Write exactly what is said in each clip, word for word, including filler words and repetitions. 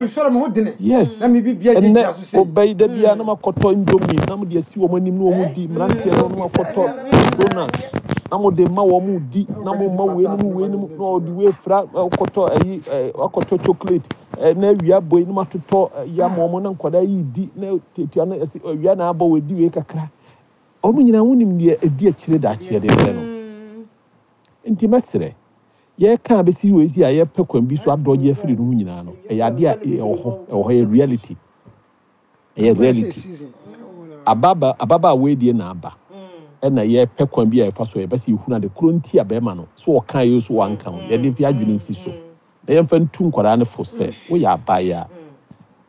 Nsɔre mo ho dene. Yes. Na mi bi bia Ɛnɛ gyinagyina so sei. Ɔbɛyi da biara na makɔtɔ Indomie na mode asi wɔn anim na wɔn di. Mmeranteɛ no na makɔtɔ donuts na mode ma wɔn di, na mo ma wei nom, wei nom, na ɔde wei fra ɔkɔtɔ ɛyi ɛ ɔkɔtɔ chocolate ɛ na awia bɔ yi na matotɔ ɛyi ama wɔn na nkwadaa yi di na tuatua no ɛsi awia na abɔ wɔ di wei kakra. Wɔn nyinaa, wonim deɛ ɛdi akyire daakye de brɛ no. Nti mɛsrɛ, yɛka abɛsi wɔ esi a yɛpɛ kwan bi so adɔgye afiri no ho nyinaa no, ɛyɛ adeɛ a ɛwɔ hɔ, ɛwɔ hɔ, yɛ reality, ɛyɛ reality. Season. Ababa ababaawa yi deɛ na aba ɛna yɛpɛ kwan bi a yɛfa so yɛpɛ sɛ yɛhunu ade koro nti a bɛrima no so ɔka yɛ so wanka ho. Yɛde fi adwene nsi so na yɛmfa ntu nkwadaa no fo sɛ woyɛ abaayɛ a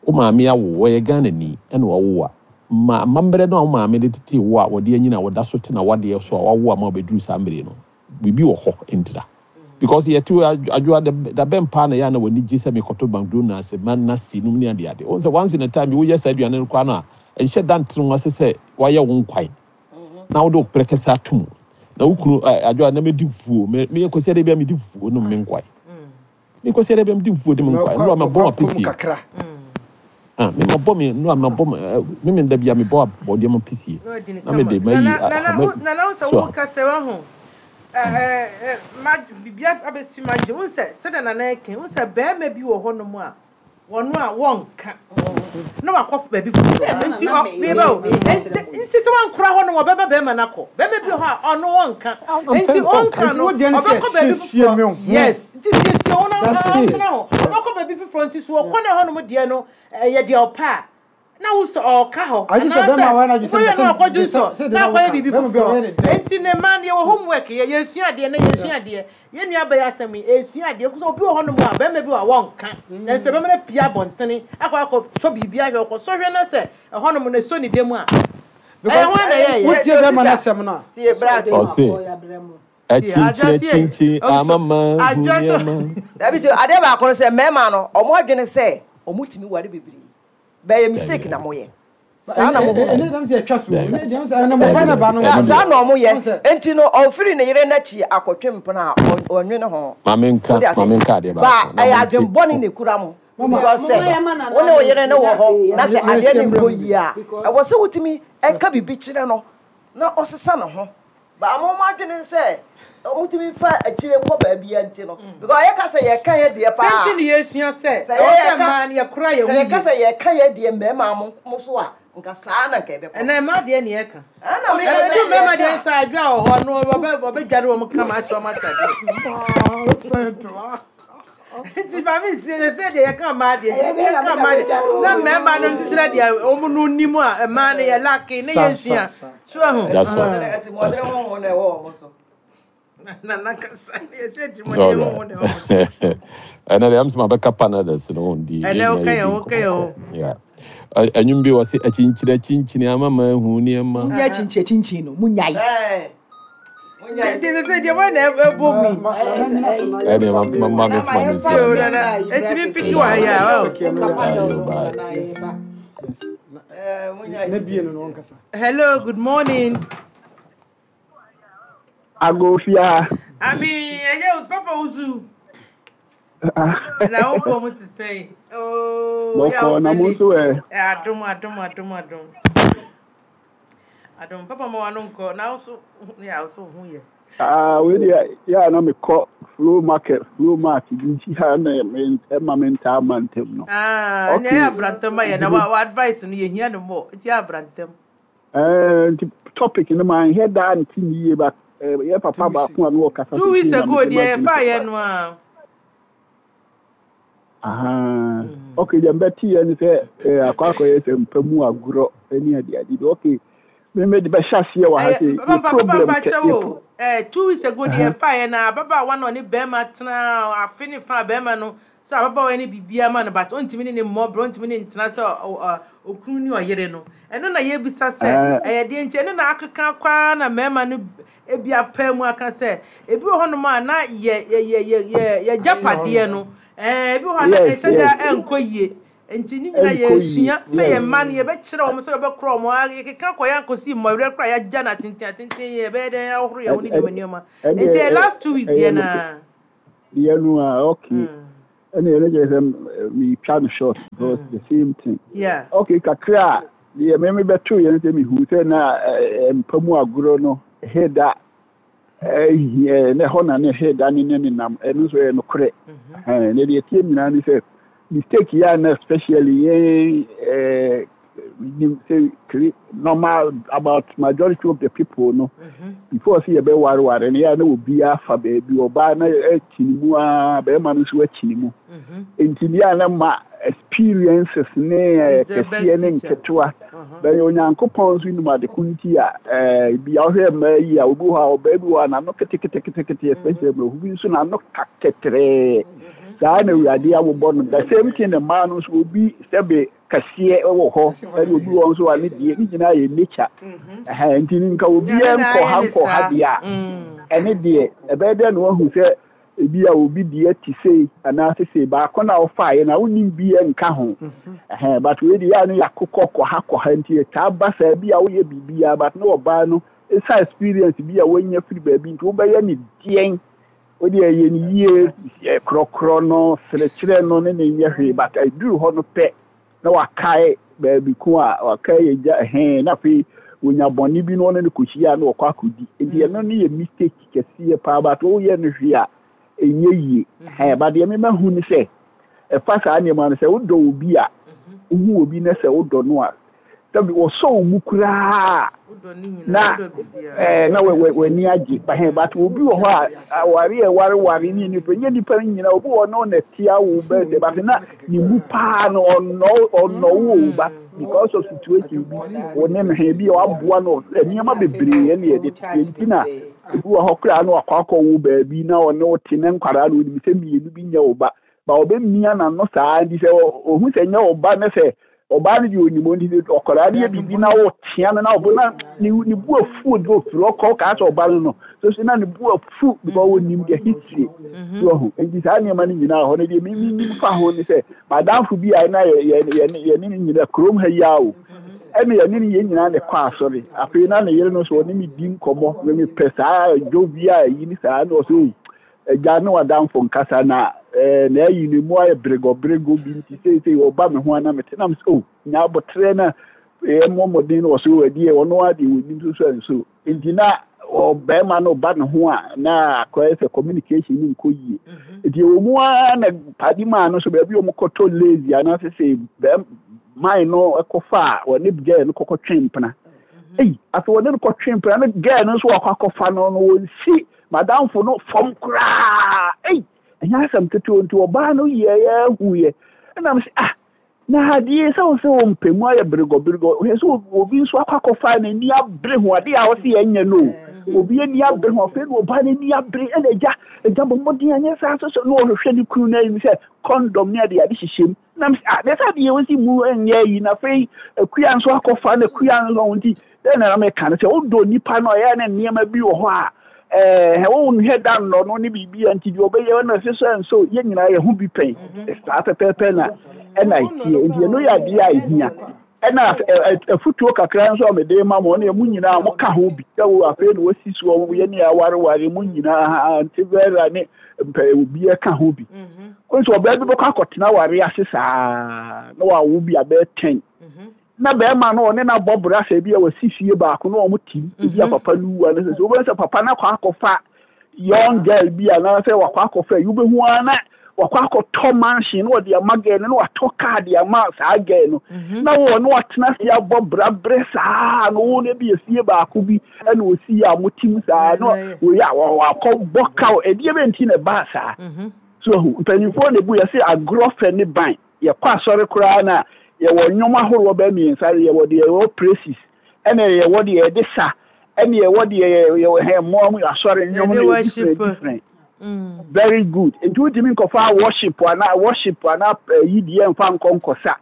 wo maame awo, wɔyɛ Ghanani ɛna wawo a ma amammerɛ no a wo maame de tete wo a wɔde anyina a wɔda so te na wadeɛ so a wawo ama wabɛduru saa mmere no, biribi wɔ hɔ ntira because yɛte adwoa da bɛn paa na yɛ a na w'ani gye sɛ mekɔtɔ McDonald's ma na si nom ne adeade. Wɔn sɛ once in a time woyɛ saa aduane no koraa no a, ɛnhyɛ da ntere ho ase sɛ wayɛ wo nkwan na wode wo prɛkɛsɛ ato mu na wo kunu adwoa na medi fufuo. Meyɛ kɔsi adeɛ bi a medi fufuo nom me nkwan, mekɔsi adeɛ bi a medi fufuo de me nkwan nnura mabɔ apesie. Kakra. Ah, me mabɔ me nnura mabɔ me me da bi a mebɔ abɔdeɛ ma pesie na mede mayi. Nana, wo sɛ woka sɛ wahu biribi abɛsi ma gye wo sɛ sɛdeɛ Nana ɛka wo sɛ bɛrima bi wɔ hɔnom a wɔno a wɔnka na wakɔ baabi foforɔ, nti meba o, nti sɛ wankora hɔ no, wɔbɛba bɛrima no akɔ. Bɛrima bi wɔ hɔ a ɔno wɔnka, nti ɔnka no, ɔbɛkɔ baabi foforɔ. Yes, nti siesie wo na ɔntena hɔ, ɔbɛkɔ baabi foforɔ. Nti so wɔkɔ ne hɔnom deɛ no, ɛyɛ deɛ ɔpɛ a na wo sɛ ɔka hɔ anaasɛ wobɛyɛ no akɔdwo nsɔ na akɔyɛ biribi foforɔ. Nti ne ma no yɛwɔ homework, yɛ yɛsua adeɛ na yɛsua adeɛ. Yɛn nua bɛyɛ asɛm yi, ɛsua adeɛ kosɛ obi wɔ hɔnom a bɛrima bi wɔ a wɔnka, nanso bɛrima no pia abɔntene akɔ akɔ sɔ biribi ahwɛ, ɔkɔ sɔhwɛ no sɛ ɛhɔnom no ɛsɔ ne dɛm a, ɛyɛ ho na ɛyɛ. Wotie bɛrima no asɛm no a Tie bra. Ɔse akyinkyini akyinkyini amama hu nneɛma. Dabi, ti adeɛ baako no sɛ mmarima no, ɔmo adwene sɛ ɔmo tumi ware bebree, bɛyɛ mistake na mo yɛ saa na mo ho. Ɛne dɛm sɛ ɛtwa so ɛne dɛm sɛ ɛne mmɔfra no ba no. Saa saa na ɔmo yɛ, nti no ɔfiri ne yere n'akyi akɔtwe mpena a ɔnwene ho. Maame nka. Wode ase? Maame nka adeɛ ba baako na ɛyɛ monte. Adwenbɔne na ekura mo because sɛ wo ne wo yere no wɔ hɔ na sɛ adeɛ no nkɔ yie a, ɛwɔ sɛ wotumi ɛka biribi kyerɛ no na ɔsesa ne ho. Ba mo mo adwene sɛ ɔmotumi fa akyire kɔ baabi a, nti no because yɛka sɛ yɛka yɛ deɛ paa. Sɛ nti ne yɛsua sɛ sɛ ɛwɔ sɛ yɛka- mmaa no yɛkora yɛn sɛ ho yɛka yie. Sɛ yɛka yɛ deɛ mmarima mo mo so a, nka saa na nka ɛbɛkɔ. Ɛnna mmaa deɛ ne yɛka. Ɛna meka sɛ ɛdu mmarima deɛ yɛka. nso adwa wɔ hɔ no, wɔbɛ wɔbɛdware wɔn kama ahyɛ wɔn atadeɛ. Nti maame nsie ne sɛ deɛ yɛka mmaa deɛ, nti yɛka mmaa deɛ na mmarima no nkyerɛ deɛ wɔn no nim a mmaa no yɛ lack ne Sa, yɛnsua sa, sa. so ɛho. That's all. Ɛti mɔdere honhom na ɛwɔ wɔn so. Nana kasa yɛsɛ atirimuɔden honhom na ɛwɔ wɔn so. Ɛnɛ deɛ ɛm sɛ mabɛka panades no ho ndi. Ɛnɛ woka yɛn ho, woka yɛn ho. Yeah. Ɛ- ɛnwom bi wɔ sɛ akyinkyini akyinkyini ama ma ahu nneɛma. Munya kyinkyin kyinkyin no, munyae. Ɛɛ munya. Nti sɛ sɛ deɛ wɔn na ɛbɔ mu yi. Ɛne ma ma ma me foma no nsi. Yo, ɛnɛ Nana etimi mpiki wɔ ha yi a ɔ. Ayo, bye. Ɛɛ munya. Na bie no no ɔnkasa. Hello, good morning. Agofia. Ami ɛyɛ o, papa wusu na wo pɔ mu te sɛn ooo yɛ. Bɔkɔ na mo nso ɛ? Adom, adom, adom, adom, adom. Papa, ma wano nkɔ na wo so yɛ, wo so ho yɛ. Ah, wei deɛ yɛ a na mekɔ flow market, flow mart bi nti ha na me ɛma me ntaa ma ntɛm no. Ah, Okay. ɛnna ɛyɛ abrantɛm ayɛ na wa wa advice no yɛhia no mmɔ, nti yɛ abrantɛm. Ɛɛ nti topic no ma nhɛ daa nti ne yie ba ɛɛ yɛ papa baako a na wɔkasa. Two weeks ago deɛ yɛfa yɛ no a. Aha. Okay, deɛ mbɛte yɛ ne sɛ ɛɛ akɔ akɔyɛ sɛ mpa mu agorɔ ne adeade bi. Okay, me me de bɛhyɛ aseɛ wɔ ha ɛyɛ sɛ yɛ papa papa problem papa kɛ kyɛw yɛ o, ɛɛ two weeks ago deɛ yɛfa yɛ na ababaawa na ɔne bɛrima tena afe ne fa, bɛrima no sɛ ababaawa ne biribiara ma no, but ɔntumi ne ne mmɔborɔ, ɔntumi ne ntena sɛ ɔ- ɔ- okunu ne ɔyere no. Ɛno na yɛbisa sɛ Ɛɛ ɛyɛ deɛ nti ɛno na akeka kwaa na mmarima no ebi apɛ mu aka sɛ ebi wɔ hɔnom a na yɛ yɛ yɛ yɛ yɛ yɛgyapadeɛ no, ɛɛ ebi wɔ hɔ a na yes ɛhyɛ da yes ɛnkɔ yie. Nti ne nyinaa ɛnkɔ yie. Yɛsua sɛ yes yɛn mma no yɛbɛkyerɛ wɔn sɛ yɛbɛkorɔ wɔn a yɛkeka kɔ yɛn akɔsi mmɔwerɛ koraa, yɛagya no atenten atenten, yɛbɛyɛ dɛn ahohoro yɛn ho ne nneɛma nneɛma. Ɛne Nti yɛ last two weeks ɛyɛ yɛ no naa. Deɛ no a, okay. Mm. Ɛna yɛn kyerɛ sɛ metwa no short because the same thing. Yeah. Okay, kakra a deɛ meme bɛto yɛn sɛ mehu sɛ na eh, mpa mu agorɔ no heda ɛhia na ɛhɔ na ne heda ne ne nenam, ɛno nso yɛ nokorɛ. Ɛhɛn, na deɛ tie nyinaa ne sɛ mistake yɛ a na especially yɛn ɛɛ nim sɛ kiri normal about majority of the people no, before sɛ yɛbɛwareware no, yɛ a na obiara fa baabi, ɔbaa na akyi ne mu a, bɛrima no nso akyi ne mu, nti deɛ a na ma experiences ne eh, Is the best kɛseɛ ne teacher. Nketewa bɛyɛ Onyankopɔn nso nim ade ko nti a ɛɛ bi a ɔhwɛ mmaa yi a, obi wɔ hɔ a, ɔbaa bi wɔ hɔ a n'ano keteketekete, especially mmerɛho bi nso n'ano ka kɛtrɛɛ saa na Awurade awobɔ no. The same thing na mmaa no nso, obi sɛbe kɛseɛ wɔ hɔ, ɛna obi wɔ nso a ne deɛ ne nyinaa yɛ nature. Ɛhɛn, nti nka obiara Nyame na nkɔ ha ayɛ ne nkɔ ha saa. deɛ a, ɛne deɛ ɛbɛyɛ dɛ na wahu sɛ ebi a obi deɛ te sei anaasɛ sei baako na ɔfaeɛ na wonim bi nka ho. Ɛhɛn, but wei deɛ yɛ a no yɛakokɔ kɔ ha kɔ ha, nti ɛtaa ba saa bi a woyɛ biribiara, but ne ɔbaa no ɛsa experience bi a wanya firi baabi, nti wobɛyɛ ne deɛn, wode ɛyɛ ne yie ɛ, korɔkorɔ no serekyerɛ no ne ne nyɛ hwee, but ɛduru hɔ no pɛ na wakae baabi ko a wakae yɛ gya. Ɛhɛn, na afei wonya bɔne bi na ɔne no kɔhyia a na wɔkɔ akɔdi, nti ɛno ne yɛ mistake kɛseɛ paa, but woyɛ no hwee a ɛnyɛ yie. Ɛhɛn, but deɛ mema hu ne sɛ ɛfa saa nneɛma no sɛ wodɔ obi a, wohu obi na sɛ wodɔ no a, sɛbi wɔsɔ wo mu koraa Wodɔ ne nyinaa, na wodɔ biribiara. ɛɛ na wɔ- wɔ- w'ani agye. Ɛhɛn, but obi wɔ hɔ a aware a ɛwareware ne nipa nyɛ nipa no nyinaa, obi wɔ no na tia wo bɛɛ sɛ, but na ne mu paa no ɔnɔ ɔnɔ wo o, but because of situation bi wɔ ne no hɛn bi a waboa no nneɛma bebree ɛna yɛde teɛ, nti na ebi wɔ hɔ koraa na wakɔ akɔwo baabi na ɔne wo te ne nkwaraa no onim sɛ mmienu bi nyɛ wo ba ba, ɔbɛmia n'ano saa, nti sɛ ɔ- ohu sɛ nyɛ wo ba ne sɛ ɔbaa no deɛ onim, nti sɛ ɔkwaraa no yɛ biribi na ɔtea no na ɔbo na ne ne bu afu de ofiri ɔkɔ kaa sɛ ɔba no no so so na ne bu afu because onim the history so ɔho. Nti saa nneɛma no nyinaa hɔ no deɛ mimi nim fa ho ne sɛ madamfo bi a na yɛ yɛ yɛ yɛne ne nyinaa kurom ha yi a o, ɛna yɛne ne yɛn nyinaa ne kɔ asɔre. Afei na ne yere no so ɔne me di nkɔmmɔ na mepɛ saa dwo bi a ayi ne saa na ɔsɛ o, agya ne wadamfo nkasa na ɛɛ na ayi ne mu ayɛ beregɔberego bi, nti seesei ɔba me ho ana mete nam sɛ o nya abotrɛ na ɛyɛ mmɔ mmɔden no wɔ so ɛdeɛ ɔno adeɛ wɔnim so so nso, nti na ɔbɛrima no ba ne ho a na akɔyɛ sɛ communication no nkɔ yie. Nti ɛwɔ mu ara na padi maa no so baabi a wɔn kɔtɔ lazy anaasɛ sɛ bɛrima man no kɔfa a wɔne girl no kɔkɔ twe mpena. Eyi afei wɔne no kɔtwe mpena no, girl no nso wakɔ akɔfa no no wɔnsi madamfo no fam koraa. Eyi ɛnyɛ asɛm ketewa, nti ɔbaa no yɛyɛ ahu yɛ ɛnam sɛ ah, na adeɛ sɛ wo sɛ wo mpɛ mu ayɛ beregɔberegɔ hwɛ sɛ obi nso akɔ akɔfa n'ani abere ho adeɛ a wɔsi yɛnyɛ no o, obi ani abere ho. Afei na ɔbaa n'ani abere ɛna agya agya bɔ mmɔden anyɛ saa so so na ɔhwehwɛ ne kunu n'anim sɛ condom ne ade ade hyehyɛ mu nam sɛ ah, na sɛ adeɛ wɔsi mu nyɛ yi na afei akua nso akɔfa na akua nso ho, nti dɛn na meka no sɛ wodɔ nipa no, ɔyɛ ne nneɛma bi wɔ hɔ a ɛɛ wɔn da nnɔ no ne biribi a, nti deɛ ɔbɛyɛ no ɛsɛ sɛ nso yɛn nyinaa yɛ ho bi pɛn saa pɛpɛɛpɛ na ɛna ɛtie, nti ɛno yɛ adeɛ a ɛhia. Ɛna afutuo kakra nso a mede ma mo ɔne mu nyinaa mo ka ho bi sɛ wo afei na wɔsi soɔ yɛ ne awareware mu nyinaa, nti bɛra ne mpɛ obi ka ho bi nso, ɔbaa bi bɛkɔ akɔtena ware ase saa na wawo bi abɛɛ ten na bɛrima no ɔne n'abɔ bra sɛ ebi a wɔsi fie baako na wɔn tim ebi a papa no wu a ne sɛ sɛ wobɛn sɛ papa no akɔ akɔfa young girl bi anaasɛ wakɔ akɔfa yi, wobɛhu ara na wakɔ akɔtɔ mansion na wɔde ama girl no na watɔ car de ama saa girl no na wɔ na watena ase abɔ bra brɛ saa na wɔn no bi efie baako bi ɛna osi a mo tim saa na wɔyɛ a wakɔ bɔ kaw ɛdeɛ bɛ nti na ɛbaa saa so. Mpanyinfoɔ na ebu yɛsɛ agorɔ fɛ ne ban yɛkɔ asɔre koraa na yɛwɔ nnwom ahoroɔ bɛɛ mmiɛnsa: yɛwɔ deɛ yɛwɔ praises, ɛna yɛwɔ deɛ yɛde sa, ɛna yɛwɔ deɛ yɛwɔ hɛn mmoa mu asɔre nnwom no yɛ different different. Very good, nti wotumi nkɔfa worship ana worship ana yi deɛ nfa nkɔ nkɔsa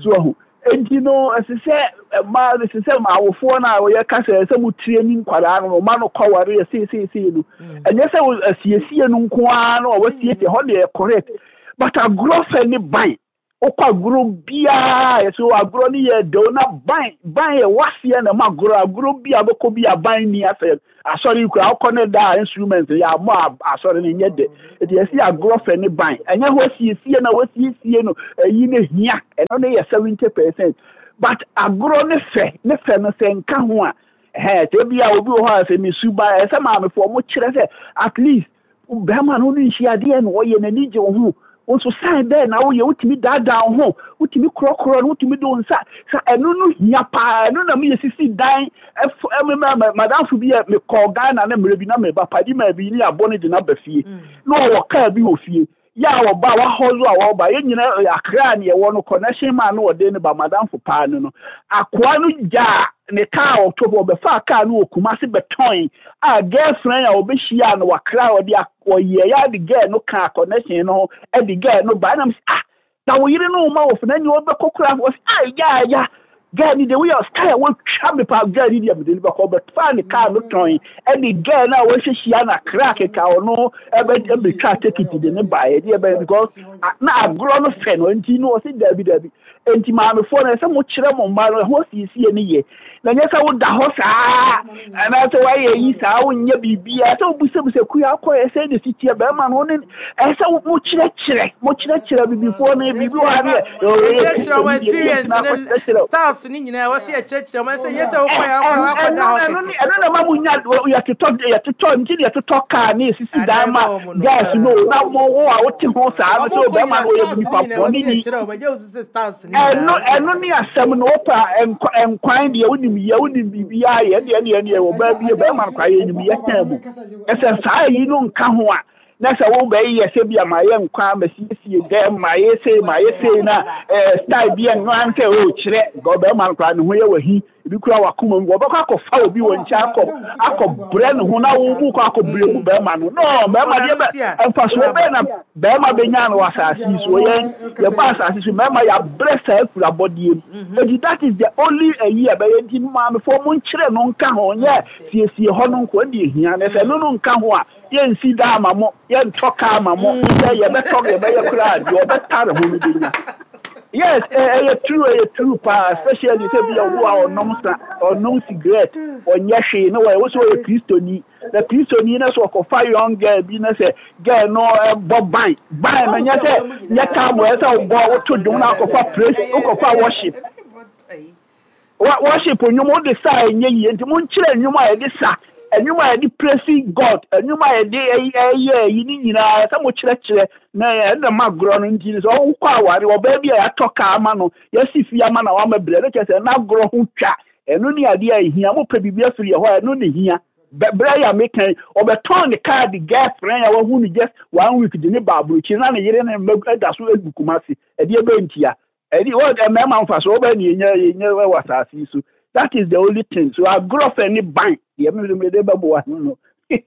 so ɔho. Nti no ɛsɛ sɛ mmaa, ɛsɛ sɛ awofoɔ no a wɔyɛ kasa, ɛsɛ sɛ mo tire ni nkwadaa no ɔma no kɔware yɛ seeseesei no, ɛnyɛ sɛ asiesie no nko ara no a wɔasiesie hɔ deɛ yɛ correct, but agorɔ fɛ ne ban. Wokɔ agorɔ biara, yɛsɛ agorɔ no yɛ dɛw na ban ban yɛ waseɛ na ma agorɔ agorɔ bi a bɛkɔ bi a ban ni asɛ asɔre kura wokɔ ne da instrument yɛ amɔ asɔre no nyɛ dɛ. Ɛti yɛsi agorɔ fɛ ne ban ɛnyɛ hɔ siesie na wɔsiesie no ɛyi ne hia, ɛno ne yɛ seventy percent, but agorɔ ne fɛ ne fɛ no sɛ nka ho a, ɛhɛn sɛ bi a obi wɔ hɔ a sɛ ne suba ɛsɛ maamefoɔ mo kyerɛ sɛ at least bɛrima no ne nhyia adeɛ na ɔyɛ n'ani gye wo ho, wo nso sign bɛɛ na woyɛ, wotumi daadaa wo ho, wotumi korɔkorɔ no, wotumi de wo nsa sa. Ɛno no hia paa. Ɛno na meyɛ sisi dan ɛfo ɛmɛ madamfo bi a mekɔɔ Ghana ne mmerɛ bi na meba padi maa bi ne abɔ ne de n'aba fie na ɔwɔ kaa bi wɔ fie yɛ a ɔba wahɔzo a wɔba yɛn nyinaa Akra ne yɛwɔ no connection maa no ɔde ne ba madamfo paa no no akoa no gyaa ne kaa ɔtɔ hɔ, ɔbɛfa kaa no wɔ Kumase bɛtɔn a girlfriend a ɔbɛhyia no wakra ɔde ɔyɛ yɛ ade girl no kaa connection no ho ɛde girl no ba ɛnam sɛ ah, na wo yere no ma wɔ fana ni ɔbɛkɔ kora wɔ sɛ ah, ya ya girl ni de woyɛ style a wɔtwa me pa, girl ni deɛ mede no bɛkɔ. Ɔbɛfa ne kaa no tɔn ɛde girl no a wɔahyehyia na kra keka ɔno ɛbɛ ɛbɛtwa tekiti de ne ba ɛde ɛbɛ because na agorɔ no fɛ no nti no ɔsɛ daabi daabi. Nti maamefoɔ no ɛsɛ mo kyerɛ mo mma no ɛho siesie ne yɛ na nyɛ sɛ woda hɔ saa anaasɛ woayɛ yi saa, wonyɛ biribiara sɛ wobisabisa kuya akɔ ɛsɛ de si teɛ bɛrima no ne ɛsɛ mokyerɛkyerɛ mokyerɛkyerɛ bibifoɔ no biribi wɔ ha ne. Yɛkyerɛkyerɛ wɔn experience ne styles ne nyinaa, wɔsɛ yɛkyerɛkyerɛ wɔn sɛ nyɛ sɛ wokɔ yɛ akɔ akɔda hɔ kɛkɛ. Ɛno na ma mo nya yɛtotɔ yɛtotɔ nti ne yɛtotɔ kaa ne yɛsisi dan ma gas no na mo wo a wote ho saa no sɛ bɛrima no ɔyɛ nipa bɔne ni. Ɛno ɛno ne asɛm no. Wopa nkwan deɛ wonim yɛ, wonim biribiara yɛ deɛ deɛ deɛ ɔbaa bi bɛrima no kwa yɛ nim yɛ tɛn mu ɛsɛ saa yi no nka ho a na sɛ wobɛyɛ sɛ bi a ma yɛ nkwan, ma siesie dɛm, ma yɛ sei, ma yɛ sei na ɛɛ style bi ɛno an sɛ o kyerɛ ɔbɛrima no koraa ne ho yɛ wahi ebi kura wakoma mu, wɔbɛkɔ akɔfa obi wɔ nkyɛn akɔ akɔ brɛ ne ho na wo mu kɔ akɔ brɛ mu bɛrima no no bɛrima deɛ bɛ mfasoɔ bɛɛ na bɛrima bɛnya no wɔ asase yi so. Yɛn yɛba asase so mmarima yɛabrɛ saa kura bɔdeɛ mu eti that is the only ɛyi a bɛyɛ. Nti maamefoɔ mo nkyerɛ no nka ho, nyɛ siesie hɔ no nko ɛde ehia na sɛ ɛno no nka ho a, yɛnsi da ama mo, yɛntɔ kaa ama mo sɛ yɛbɛtɔ yɛbɛyɛ koraa deɛ ɔbɛtare ho no bɛnya. Yes, ɛyɛ true, ɛyɛ true paa, especially sɛ bi a obi a ɔnom sa, ɔnom cigarette, ɔnyɛ hwee na wɔyɛ wosɛ ɔyɛ Kristoni na Kristoni na sɛ ɔkɔfa young girl bi na sɛ girl no ɛbɔ ban ban na nyɛ sɛ nyɛ time wɔ ɛsɛ ɔbɔ woto dwom na akɔfa praise, wokɔfa worship worship nnwom wode sa a ɛnyɛ yie. Nti monkyerɛ nnwom a yɛde sa, nnwom a yɛde praise God, nnwom a yɛde ɛyɛ ɛyi ne nyinaa sɛ mo kyerɛkyerɛ na ɛna ma agorɔ no. Nti sɛ wokɔ aware ɔbaa bi a yɛatɔ kaa ama no, yɛasi fie ama na wama brɛ no kyerɛ sɛ n'agorɔ ho twa. Ɛno ne adeɛ a ɛhia. Mopɛ biribi afiri yɛ hɔ a, ɛno ne hia. Berɛ yɛ a meka, ɔbɛtɔn ne kaa de girlfriend a wahu no just one week de ne ba aburokyiri na ne yere ne mma da so egu Kumase. Ɛdeɛ bɛntia ɛdi wɔ mmarima nfa so wɔbɛ ne yɛnya yɛnya wɔ asase yi so. That is the only thing. So agorɔ fɛ ne ban deɛ mi mi de bɛboa no no. Yo,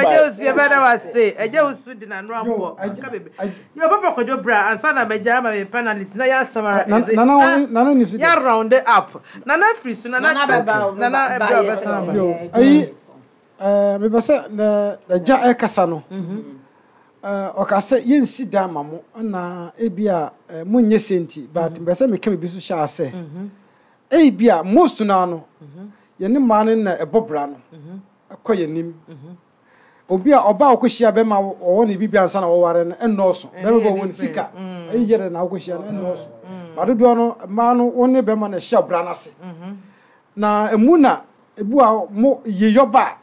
ɛgye osu, yɛ bɛ da wa se ɛgye osu di na no abɔ aka bebe. Yo, Papa Kwadwo, bra ansa na mɛgya ama mi panelist na yɛ asamara. Nana, Nana ni so. Yɛ round it up. Nana firi so, Nana. Nana ɛbrɛ ɔbɛsan aba. Yo, ayi ɛɛ mepɛ sɛ na ɛgya ɛkasa no ɛɛ ɔka sɛ yɛnsi dan ma mo ɛna ebi a ɛɛ monyɛ se nti, but mepɛ sɛ meka biribi so hyɛ ase. Ebi a most naa no yɛne mmaa no na ɛbɔ bra no ɛkɔ yɛn nim. Obi a ɔbaa ɔkɔhyia bɛrima ɔwɔ ne bibi ansa na wɔware no ɛnnɔɔso. Bɛrima bɛ wɔ ne sika ɛyi yɛ dɛ na ɔkɔhyia no ɛnnɔɔso ba dodoɔ no mmaa no wɔn ne bɛrima na ɛhyɛ ɔbra no ase na emu na ebu a mo yeyɔ ba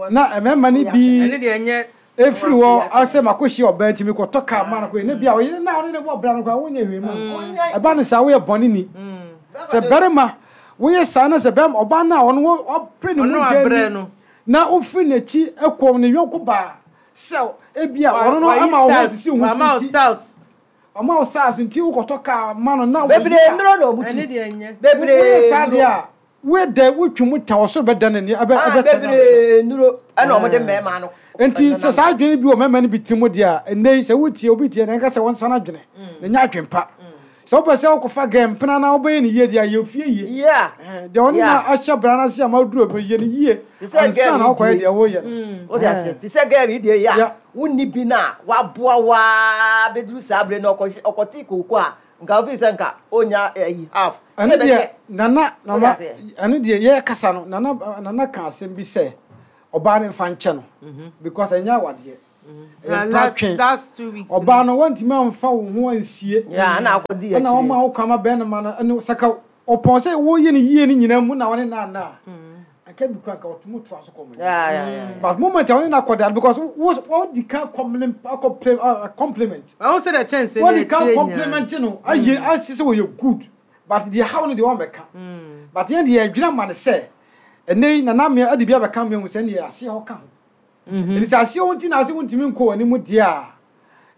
na mmarima no bi efiri hɔ asɛ ma kɔhyia ɔbaa nti mekɔtɔ kaa ma no kɔ ne bi a ɔyere na ɔne ne bɔ ɔbra no koraa wonyɛ hwee ma ɛba no saa. Woyɛ bɔne ni sɛ bɛrima woyɛ saa na sɛ bɛrima ɔbaa no a ɔno ɔpere ne mu gya ni na wofiri n'akyi kɔ ne yɔnko baa sɛ ebi a ɔno no ama wo ho sisi wo ho fi nti ɔma wo saase nti wokɔtɔ kaa ma no na bebree nnuro na obutu. Bebree. Woyɛ saa deɛ a woyɛ dɛ wotwi mu ta ɔsoro bɛda n'ani ɛbɛ ɛbɛtɛ. Bebree nnuro ɛna ɔmo de mmarima no. Nti sɛ saa adwene bi wɔ mmarima no bi tiri mu deɛ a, ɛnɛ yi sɛ wotie obi tie na nka sɛ wɔnsa no adwene na nyɛ adwene pa Sɛ wopɛ sɛ wokɔfa gɛ mpena na wobɛyɛ ne yie deɛ a, yɛ ofie yie. Yeah. Ɛhɛn, deɛ ɔne Yeah. na ahyɛ bra no ase ama woduru bɛ yɛ ne yie Te sɛ ansa girl na yi wokɔyɛ die. Deɛ woyɛ no. Wode aseɛ, te sɛ girl yi deɛ yi a Yeah. wonni bi no a waboa waa bɛduru saa berɛ no, ɔkɔhwɛ ɔkɔtee kooko a, nka wofii sɛ nka ɔnya ayi half sɛ Ɛno deɛ ɛbɛkyɛ. Nana Wode nana aseɛ. Ɛno deɛ yɛkasa no, nana nana ka asɛm bi sɛ ɔbaa no mfa nkyɛ no because ɛnyɛ awadeɛ, ɛyɛ last mpatwe. Last two weeks. Ɔbaa no wɔntumi amfa wo ho ansie Yeah, na akɔdi ɛna akyire. wɔma wo kwan ma bɛrima no ɛne sɛka ɔpɔn sɛ woyɛ no yie no nyinaa mu na wɔne no ana a anka bi kora nka ɔtumi toa so kɔ mo. Yeah, yeah, yeah. But moment a wɔne no akɔda no, because wo wɔdi ka compliment compliment Ɔho sɛ deɛ kyɛnse wɔde ka compliment no ayɛ ahyɛ sɛ wɔyɛ good, but deɛ haw no deɛ wɔmmɛka, but yɛn deɛ yɛdwena ma no sɛ ɛnɛ yi nana mmea ade bi abɛka mmea hu sɛ ɛneɛ aseɛ hɔ ka ho, ɛnti sɛ aseɛ hɔ nti na ase wontumi nkɔ w'anim deɛ a,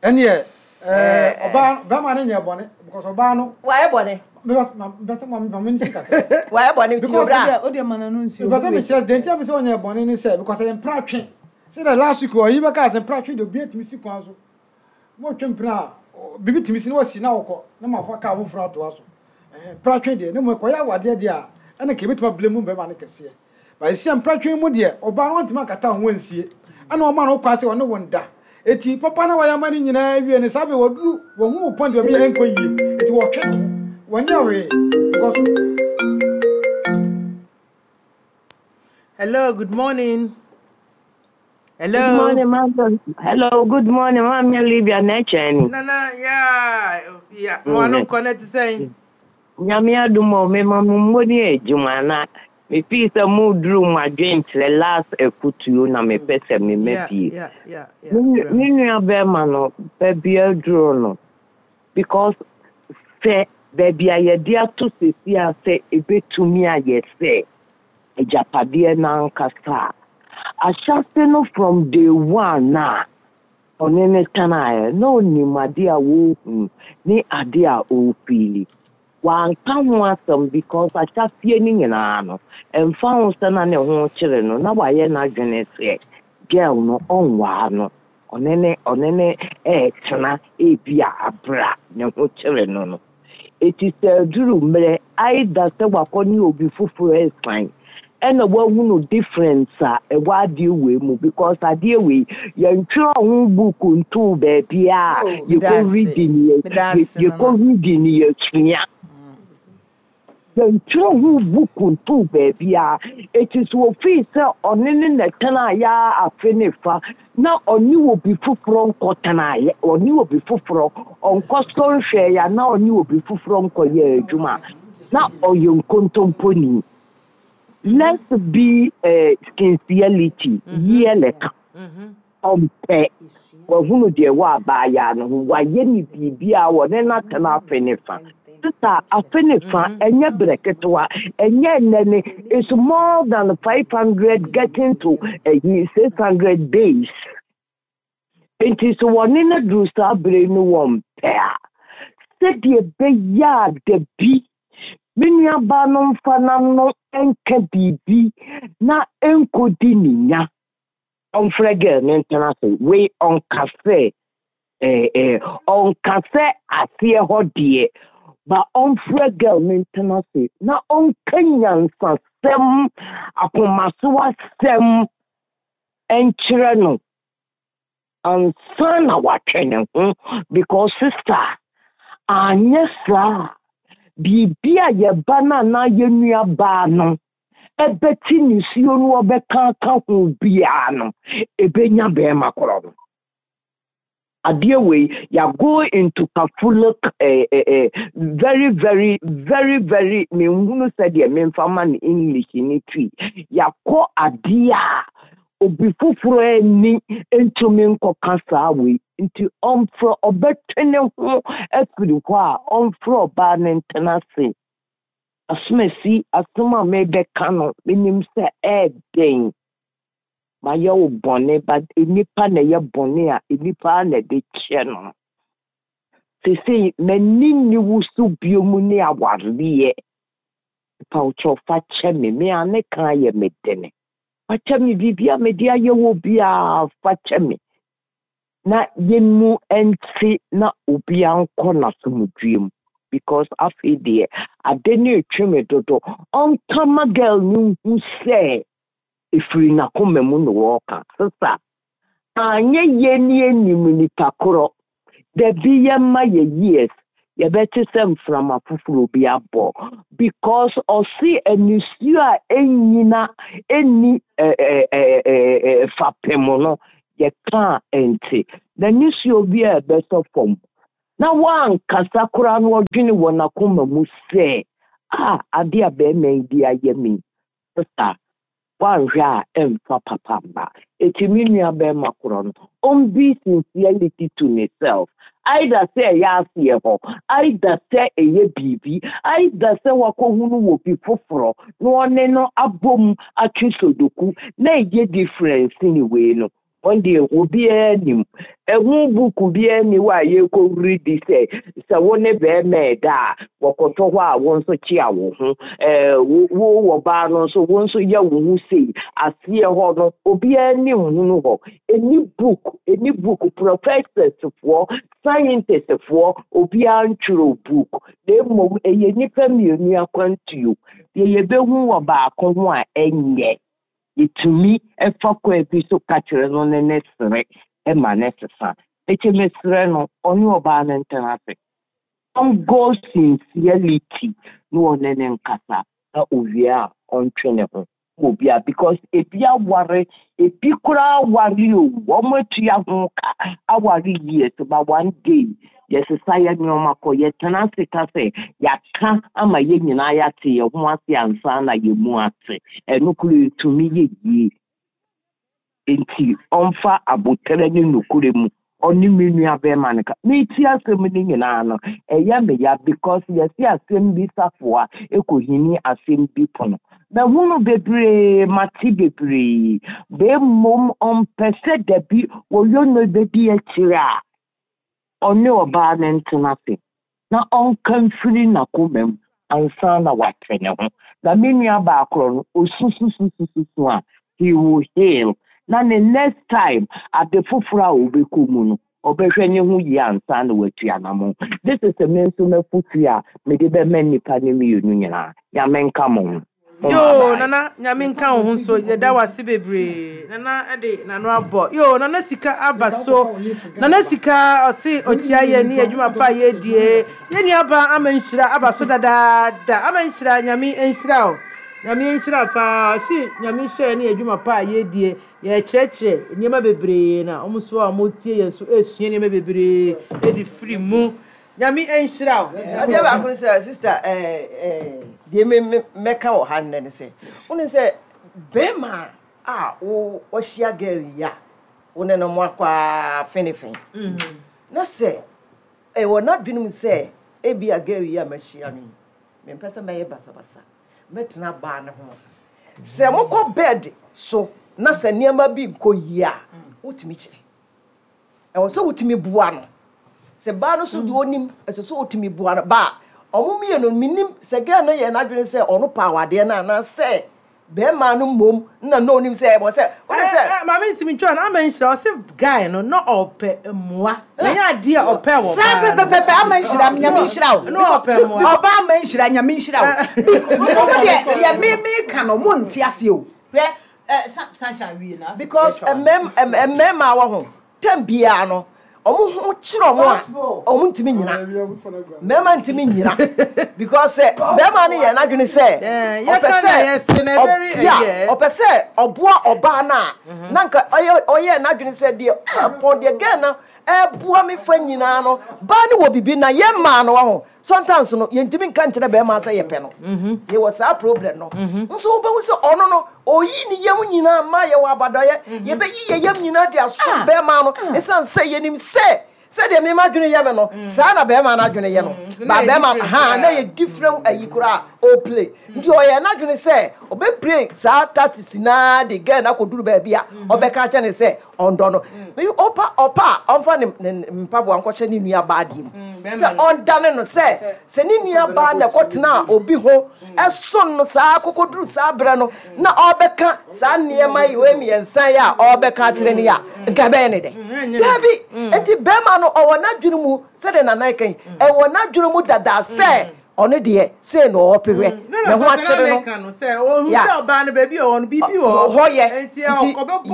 ɛneɛ ɛɛ ɔbaa bɛrima no nyɛ bɔne because ɔbaa no Wayɛ bɔne. Because ma bɛsɛ ma ma me nsi kakra. Wayɛ bɔne nti Because owura. O de ma na no nsi. Because sɛ mekyerɛ deɛ nti a mesɛ ɔnyɛ bɔne ne sɛ because ɛyɛ mpratwe sɛ the last week ɔyi bɛka sɛ mpratwe deɛ, obi atumi si kwan so motwe mpena a ɔ- biribi tumi si na wasi na wokɔ na mafa kaa foforɔ atoa so. Ɛhɛn, mpratwe deɛ ne mu kɔyɛ awadeɛ deɛ a, ɛna ka ebɛtumi abile mu bɛrima no kɛseɛ, ba esi a mpratwe mu deɛ, ɔbaa no wɔntumi akata ho ansie, ɛna ɔma no kwan sɛ ɔne wɔn da, eti papa na wɔyɛ ama no nyinaa wie no saa bɛ wɔduru wɔn ho point baabi a ɛnkɔ yie, eti wɔtwe ne ho, wɔnyɛ hwee because Hello, good morning. Good Hello. morning, Mama. Hello, good morning, Mama Olivia Necheni. Nana, yeah, yeah. Mo ano nkɔ na ti sɛn? Nyame adom o, me ma mo mmɔ ne adwuma na mefii sɛ moduru mo adwenkyerɛ last afutuo na mepɛ sɛ mema Yeah, fie. yeah, yeah, yeah. Me nu- me nua bɛrima no, baabi aduro no, because sɛ baabi a yɛde ato sesi a sɛ ebetumi ayɛ sɛ agyapadeɛ n'ankasa a, ahyɛse no from day one na ɔne ne tenaeɛ na onim ade a wɔrehu ne ade a ɔrefeel. Wanka ho asɛm because ahyɛseɛ no nyinaa no, ɛmfa ho sɛ na ne ho kyerɛ no, na wayɛ n'adwene sɛ girl no ɔnwaa no, ɔne ne ɔne ne ɛɛtena ebi a abra ne ho kyerɛ no no Eti sɛ aduru mmerɛ either sɛ wakɔ ne obi foforɔ ɛsan ɛna wahunu difference a ɛwɔ adeɛ wei mu, because adeɛ wei yɛntwerɛ ho book ntoo baabi a Oh, yɛkɔ medase. reading yɛ Medase, yɛkɔ Nana. reading yɛsua. Yɛntwerɛ ho book ntoo baabi a eti so ofii sɛ ɔne ne na tenaeɛ a afe ne fa na ɔne obi foforɔ nkɔ tenaeɛ, ɔne obi foforɔ ɔnkɔ sɔ nhwɛeɛ a, na ɔne obi foforɔ nkɔyɛ adwuma a, na ɔyɛ nkontomponi. Let's be uh, sincerity yie ka ɔmpɛ wahunu deɛ wɔ abaayaa no ho, wayɛ ne biribi a wɔne no atena afe ne fa. Sisa afe ne fa ɛnyɛ berɛ ketewa, ɛnyɛ nnɛ ne, it's more than five hundred getting to ɛyi six hundred days. Nti sɛ wɔne no duru saa bere no, wɔmpɛ a, sɛdeɛ ɛbɛyɛ a da bi me nuabaa no mfa n'ano nka biribi na nkɔdi ne nya, ɔmfrɛ girl ne ntena ase. Wei ɔnka sɛ ɛɛ ɛɛ ɔnka sɛ aseɛ hɔ deɛ ba, ɔmfrɛ girl ne ntena ase na ɔnka nyansasɛm, akomaso asɛm nkyerɛ no ansa na watwe ne ho, because sister, anyɛ saa, biribi a yɛba no anaa yɛn nua baa no ɛbɛti nisuo no ɔbɛka aka ho biara no, ebenya bɛrima korɔ no. Adeɛ wei ya go into Catholic eh, eh, eh, very very very very menhunu sɛdeɛ memfa ma no English ne Twi. Yakɔ adeɛ a obi foforɔ ani ntumi nkɔka saa wei nti, ɔmfrɛ, ɔbɛtwe ne ho afiri hɔ a, ɔmfrɛ ɔbaa ne ntena ase. Asomasi asɛm a mebɛka no, menim sɛ ɛɛden mayɛ wo bɔne, but nnipa na ɛyɛ bɔne a nnipa na ɛde kyɛ no. Sesei m'ani nni wo so bio mu ne awareɛ. Pawkyɛw, fa kyɛ me. Me a ne ka yɛ me dene, fa kyɛ me. Biribi a mede ayɛ wɔ biara, fa kyɛ me na yɛn mu nte na obiara nkɔ n'asomdwie mu. Because afei deɛ, ade no retwe me dodo. Ɔnka ma girl no nhu sɛ ɛfiri n'akoma mu na wɔreka. Sesa, anyɛ yie ne yɛnnim nipa korɔ. Dabi yɛmma yɛ years, yɛbɛte sɛ mframa foforɔ bi abɔ. Because ɔse anisuo a ɛnnyina ɛnni fapem no, yɛka a ɛnte. N'anisuo bi a ɛbɛtɔ fam na wankasa koraa na ɔdwene wɔ n'akoma mu sɛ, ah, ade a bɛrima yi de ayɛ me yi, woanhwɛ a ɛmfa papa mma. Eti me nua bɛrima korɔ no, ɔmbi sincerity to himself. Either sɛ ɛyɛ aseɛ hɔ, either sɛ ɛyɛ biribi, either sɛ wakɔhunu wɔ bi foforɔ na ɔne no abom atwe sodoku na ɛyɛ difference ne wei no. Wɔn deɛ obiara nim. Ɛho buku biara ni hɔ a yɛkɔwuri di sɛ sɛ wo ne bɛrima ɛda a wɔkɔtɔ hɔ a wo nso kyea wo ho. Ɛɛ wo wo wɔ baa no nso wo nso yɛ wo ho sei aseɛ hɔ no obiara nim hunu hɔ. Ɛni book ɛni book professors foɔ scientists foɔ obiara ntwerɛ book na mmom ɛyɛ nnipa mmienu akwantuo. Deɛ yɛbɛhu wɔ baako ho a ɛnyɛ. Yɛtumi ɛfa kwan bi so ka kyerɛ no ne ne sere ɛma ne sesa. Eti mesrɛ no ɔne ɔbaa no ntena ase. Ɔngo sincerity na ɔne ne nkasa na owie a ɔntwe ne ho wɔ bia because ebi aware ebi koraa aware o wɔn atua ho ka aware years but one day yɛsesa yɛ nneɛma kɔ yɛtena ase ka sɛ yɛaka ama yɛn nyinaa yɛate yɛn ho ase ansa na yɛn mu ate ɛno koro etumi yɛ yie nti ɔmfa abotare ne nokore mu ɔne me nua bɛrima no ka meeti asɛm no nyinaa no ɛyɛ me ya because yɛsi asɛm bi safoa ekohini asɛm bi pono mahunu bebree mate bebree bemmom ɔmpɛ sɛ dabi wɔyɔ no bɛdi akyire a ɔne ɔbaa no ntena ase na ɔnka mfiri n'akoma mu ansa na wate ne ho na me nua baakoro no osususususu a he will heal na ne next time ade foforɔ a obɛkɔ mu no ɔbɛhwɛ ne ho yie ansa na watu anamo. This is me nso m'afotu a mede bɛma nnipa no mmienu nyinaa. Nyame nka mo ho. Yo, Nana, Nyame nka wo ho nso yɛda wase bebree. Nana ɛde n'ano abɔ. Yo, Nana sika aba so. Nana sika ɔse ɔkyia yɛ ne adwuma pa a yɛdie. Yɛn nua ama nhyira aba so dadaada. Ama nhyira Nyame nhyira o. Nyame nhyira paa. Ɔse Nyame hyɛ ne adwuma pa a yɛdie. Yɛkyerɛkyerɛ nneɛma bebree na ɔmo nso a ɔmo tie yɛn nso esua nneɛma bebree edi firi mu. Nyame nhyira o. Adeɛ baako ne sɛ sister ɛɛ ɛɛ deɛ me me mɛka wɔ ha nnɛ ne sɛ wone sɛ bɛrima a wo wɔhyia girl yi a wo ne no mo akɔ a fenefene na sɛ ɛwɔ n'adwene mu sɛ ebi a girl yi a mahyia no yi mempɛ sɛ mɛyɛ basabasa mɛtena baa ne ho sɛ mokɔ bed so na sɛ nneɛma bi nkɔ yie a wotumi kyerɛ ɛwɔ sɛ wotumi boa no sɛ baa no so deɛ onim ɛsɛ sɛ wotumi boa no baa ɔmo mmienu minim sɛ girl no yɛ n'adwene sɛ ɔno pa awadeɛ no anaasɛ bɛrima no mmom na na onim sɛ ɛwɔ sɛ wode sɛ Maame nsimi ntwa no ama nhyira ɔse guy no na ɔpɛ mmoa. Na nyɛ adeɛ a ɔpɛ wɔ saa baa no. Pɛpɛpɛpɛ ama nhyira Nyame nhyira wo. Na ɔpɛ mmoa. Ɔba ama nhyira Nyame nhyira wo. Mo deɛ deɛ me me ka no mo nte aseɛ o. Hwɛ ɛ Sunshine wie na because mmɛm mmarima wɔ ho tɛm biara no ɔmo ho kyerɛ ɔmo a ɔmo ntumi nyina mmarima ntumi nyina because sɛ bɛrima no yɛ n'adwene sɛ Eh, ɔpɛ yɛka na sɛ yɛse na very ɔ- yeah, ɛyɛ. ɔpɛ sɛ ɔboa ɔbaa no a na nka ɔyɛ ɔyɛ n'adwene sɛ deɛ ɛpɔn deɛ girl no ɛboa me fa nyinaa no baa no wɔ bibi na yɛ mmaa no wɔ ho sometimes no yɛntumi nka nkyerɛ bɛrima sɛ yɛpɛ no yɛwɔ saa problem no nso wobɛhu sɛ ɔno no ɔyi ne yam nyinaa ma yɛwɔ abadɔyɛ yɛbɛyi yɛ yam nyinaa de aso bɛrima no ɛsiane sɛ yɛnim sɛ sɛdeɛ mema adwene yɛ me no saa na bɛrima no adwene yɛ no So ba na yɛ bɛrima different ha na koraa. yɛ different ayi koraa ɔplay nti ɔyɛ n'adwene sɛ ɔbɛplay saa tactics naa de girl no akɔduru baabi a ɔbɛka kyɛ ne sɛ Ɔndɔ no. Ɔpa ɔpa a ɔmfa ne ne mpaboa nkɔhyɛ ne nua baa deɛ mu. Sɛ ɔndane no sɛ sɛ ne nua baa na ɛkɔtena obi ho ɛson no saa kokoduru saa berɛ no na ɔbɛka saa nneɛma yi wei mmiɛnsa yi a ɔbɛka akyerɛ no yi a nka ɛbɛyɛ ne dɛ. Daabi. Nti bɛrima no ɔwɔ n'adwene mu sɛdeɛ Nana ɛka yi ɛwɔ n'adwene mu dada sɛ ɔno deɛ sei na ɔpehwɛ ne ho akyere no ya hɔ yɛ nti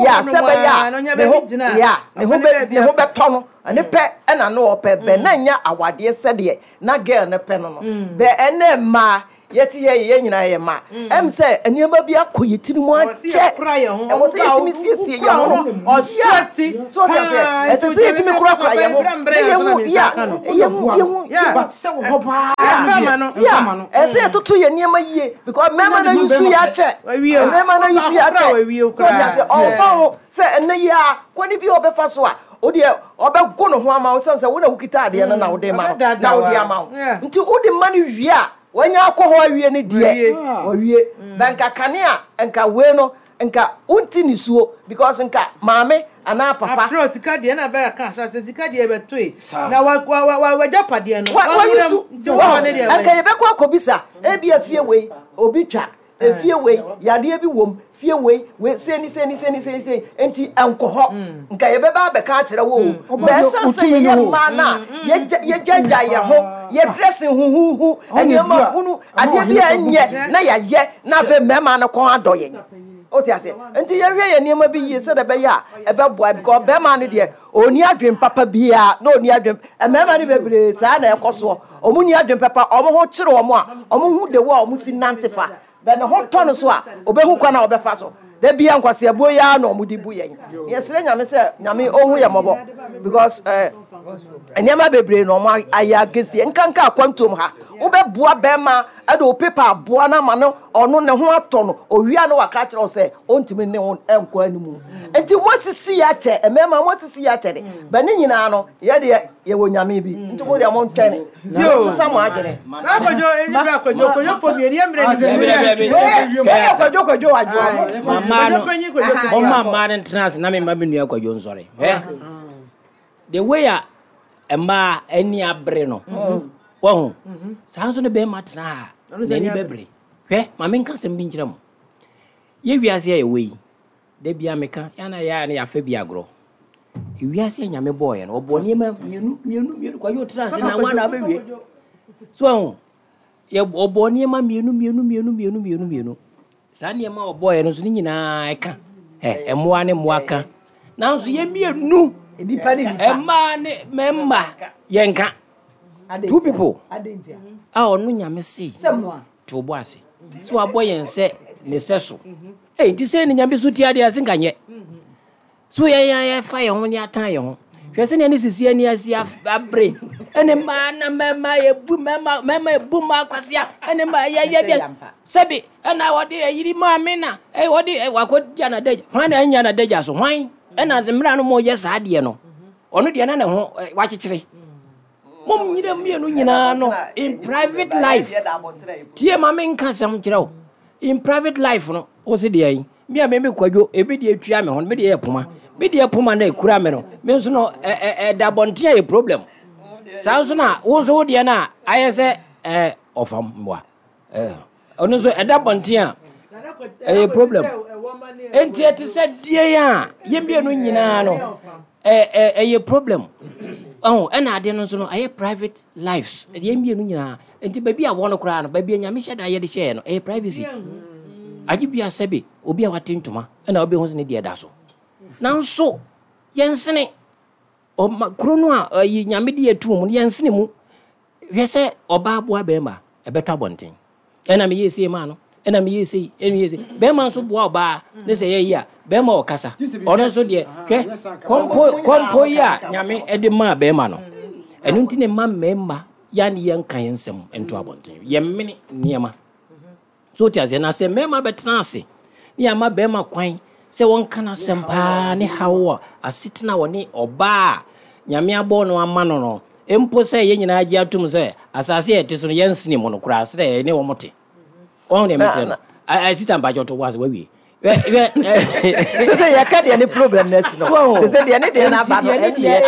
ya sɛ bɛyɛ a ne ho ya ne ho bɛ ne ho bɛtɔ no ne pɛ ɛna no ɔpɛ bɛ na nya awadeɛ sɛdeɛ na girl ne pɛ no no bɛ ɛnɛ mmaa yɛte yɛ yɛ nyinaa yɛ mmaa ɛm sɛ nneɛma bi akɔ yɛ tiri mu akyɛ ɛwɔ sɛ yɛtumi siesie yɛn ho ya so ɔte aseɛ ɛsɛ sɛ yɛtumi korakora yɛn ho na yɛhu ya yɛhu yɛhu ya ɛsɛ yɛtoto yɛ nneɛma yie because mmarima no yusu yɛ akyɛ mmarima no yusu yɛ akyɛ so ɔte aseɛ ɔnfa ho sɛ ɛnɛ yi a kɔni bi a ɔbɛfa so a o deɛ ɔbɛgo ne ho ama wo sɛn sɛ wo na wokita adeɛ no na wode ma no na wode ama wo nti wode ma no wie a wanya akɔ hɔ awie ne deɛ wawie bɛ nka kane a nka wei no nka wonti ne suo because nka maame anaa papa afro sika deɛ na bɛrɛ ka ahyɛ sika deɛ bɛtoe na wa wa wa wagya padeɛ no wayusu nka yɛbɛkɔ akɔbisa ebi afie wei obi twa efie wei yadeɛ bi wom fie wei wei seni seni seni seni seni nti ɛnkɔ hɔ nka yɛbɛba abɛka akyerɛ wo o bɛɛsan sɛ yɛyɛ mmaa no a yɛgyagya yɛn ho yɛ dressing huhuhu nneɛma hunu adeɛ bi a ɛnyɛ na yɛayɛ na afei mmarima no kɔn adɔ yɛn o te aseɛ nti yɛhwɛ yɛn nneɛma bi yie sɛdeɛ ɛbɛyɛ a ɛbɛboa because bɛrima no deɛ ɔni adwen papa biara na ɔni adwen mmarima no bebree saa na ɛkɔ soɔ ɔmo ni adwen papa ɔmo ho kyerɛ ɔmo a ɔmo ho de wɔ a ɔmo si nante fa bɛ ne ho tɔ no so a ɔbɛhu kwan a ɔbɛfa so da bia nkwaseabuo yi ara na ɔmo de bu yɛn yɛsrɛ Nyame sɛ Nyame ɔhu yɛ mmɔbɔ because eh, nneɛma bebree na ɔmo ayɛ against yɛn nkanka akwantuom ha wobɛboa bɛrima ɛde wo paper aboa no ama no ɔno ne ho atɔ no owia no waka kyerɛ wo sɛ ɔntumi ne wo nkɔ animu nti mo asisi yɛ akyɛ mmarima mo asisi yɛ akyɛ de bɛ ne nyinaa no yɛdeɛ yɛwɔ Nyame bi nti mo deɛ mo ntwɛne mo sesa mo adwene. Kwadwo kwadwo adwoa mama no mama mmaa no ntena ase na mema me nua Kwadwo nsɔre. Hwɛ the way a mmaa ani abere no wahu saa nso ne bɛrima tena ha n'ani bɛbere. Hwɛ ma menka asɛm bi nkyerɛ mo yɛ wiase a yɛwɔ yi da bia meka yɛana yɛa ne yɛafa bi agorɔ wiase a Nyame bɔɔyɛ no ɔbɔ nneɛma mmienu mmienu mmienu Kwadwo tena ase na wana abɛwie so ahu yɛ ɔbɔ nneɛma mmienu mmienu mmienu mmienu mmienu mmienu saa nneɛma a ɔbɔɔyɛ no nso ne nyinaa ɛka ɛ mmoa ne mmoa ka nanso yɛ mmienu mmaa ne mmarima yɛnka two people a ɔno Nyame se to bɔ ase so wabɔ yɛn sɛ ne sɛ so ɛy nti sɛ ne Nyame so tia deɛ ase nka nyɛ so yɛn yɛn yɛfa yɛn ho ne atan yɛn ho hwɛ sɛ nea ne sisi ani asi abere ɛne mmaa na mmarima yɛbu mmarima mmarima yɛbu mmaa kwasea ɛne mmaa yɛ yɛ yɛ sɛbi ɛna wɔde ɛyiri maame na ɛ wɔde wakɔ gya na dagya hwan na ɛnya na dagya so hwan ɛna mmerɛ no mo yɛ saa deɛ no ɔno deɛ na ne ho wakyekyere mo nyina mmienu nyinaa no in private life tie ma me nka asɛm kyerɛ wo in private life no wo se deɛ yi me a me me Kwadwo ebi deɛ etua me ho me deɛ yɛ poma me deɛ poma na ekura me no me nso no ɛ ɛ ɛda abɔnten a yɛ problem saa nso na wo nso wo deɛ na ayɛ sɛ ɛ ɔfam mboa ɛ ɔno nso ɛda abɔnten a ɛyɛ problem enti ɛte sɛ deɛ a yɛn mmienu nyinaa no ɛ ɛ ɛyɛ problem ɔho ɛna adeɛ no nso no ɛyɛ private lives yɛn mmienu nyinaa nti baabi a wɔ no koraa no baabi a Nyame hyɛ da yɛde hyɛɛ no ɛyɛ privacy agye bi asɛbe obi a wate ntoma ɛna wobɛhu sɛ ne deɛ da so nanso yɛnsene ɔma kuro no a ɛyi Nyame de yɛtu mu no yɛnsene mu hwɛ sɛ ɔbaa boa bɛrima ɛbɛtɔ abɔnten ɛna meyɛ sei maa no ɛna meyɛ sei ɛna meyɛ sei bɛrima nso boa ɔbaa ne sɛ yɛyi a bɛrima ɔkasa ɔno nso deɛ hwɛ kɔmpo kɔmpo yi a Nyame ɛde maa bɛrima no ɛno nti ne ma mmarima yɛane yɛnka yɛn nsɛm nto abɔnten yɛmmene nneɛma so wote aseɛ na sɛ mmarima bɛtena ase ne yɛama bɛrima kwan sɛ wɔnka n'asɛm paa ne haw a asetena wɔ ne ɔbaa a Nyame abɔ no ama no no mpo sɛ yɛn nyinaa gye atom sɛ asase a yɛte so no yɛnsene mu no koraa sɛ yɛne wɔn te wɔn deɛ mekyerɛ no sista mpakyɛ ɔto wɔ ase wawie Sɛ sɛ yɛka deɛ ne problem no asi no, sɛ sɛ deɛ ne deɛ no aba no, ɛne deɛ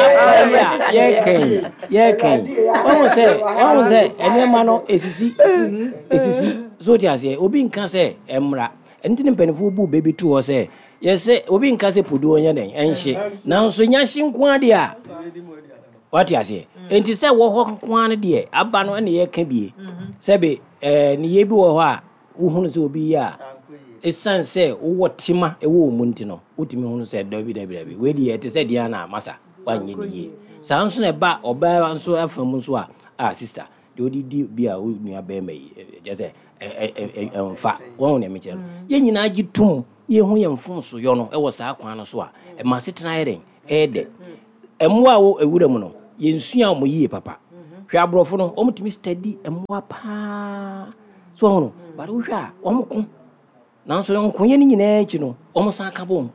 yɛkɛn yɛkɛn wɔn sɛ wɔn sɛ nneɛma no esisi esisi so te aseɛ. Obi nka sɛ ɛmra ɛnti ne mpanimfoɔ bu bebi to hɔ sɛ yɛsɛ obi nka sɛ poduo nyɛ dɛn ɛnhye, nanso nyahye nko adeɛ a wate aseɛ. Nti sɛ wɔ hɔ nko ara deɛ aba no ɛna yɛka bie sɛbe ɛɛ ne yɛ bi wɔ hɔ a wohunu sɛ obi yɛ a ɛsiane sɛ wowɔ tema ɛwɔ wo mu nti no wotumi hunu sɛ dabi dabi dabi wei deɛ ɛte sɛ deɛ na masa wanyɛ ne yie. Saa nso na ɛba ɔbaa nso afa mu nso a a sister deɛ wode di bi a wo nua bɛrima yi kyerɛ sɛ ɛmfa wɔn nea mekyerɛ no yɛn nyinaa gye tom yɛhu yɛn mfomsoyɔ no ɛwɔ saa kwan no so a ɛma asetena yɛ dɛn ɛyɛ dɛ. Mmoa a wɔ ewura mu no yɛnsua wɔn yie papa. Hwɛ aborɔfo no wɔn tumi study mmoa paa so wɔn no but wohwɛ a wɔn ko nanso nkoyɛ no nyinaa akyi no wɔn san ka bom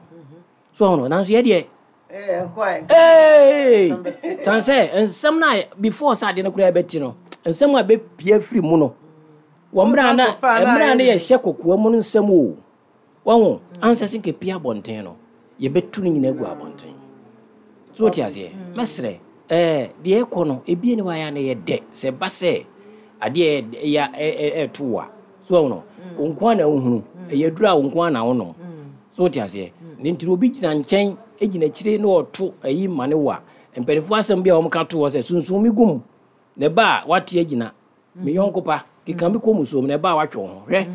so wɔn no nanso yɛ deɛ ee san sɛ nsɛm na before sɛ adeɛ no koraa bɛti no nsɛm a bɛpia firi mu no wɔn mmerɛ na mmerɛ na yɛhyɛ kokoa mu no nsɛm o wɔn ansa sɛ nka pia abɔnten no yɛbɛtu no nyinaa gu abɔnten so wote aseɛ. Mɛsrɛ ɛɛ deɛ ɛkɔ no ebie ne wayɛ na yɛ dɛ sɛ ba sɛ adeɛ ɛyɛ ɛɛto wa so wɔn no nko na wohunu ɛyɛ duru a nko na wonom so wote aseɛ. Ne nti obi gyina nkyɛn gyina akyire na ɔto ayi ma ne wa mpanimfoɔ asɛm bi a wɔn ka to hɔ sɛ sunsun mi gum na ɛba a wate agyina me yɔnko pa keka bi kɔ musuom na ɛba a watwe ho hwɛ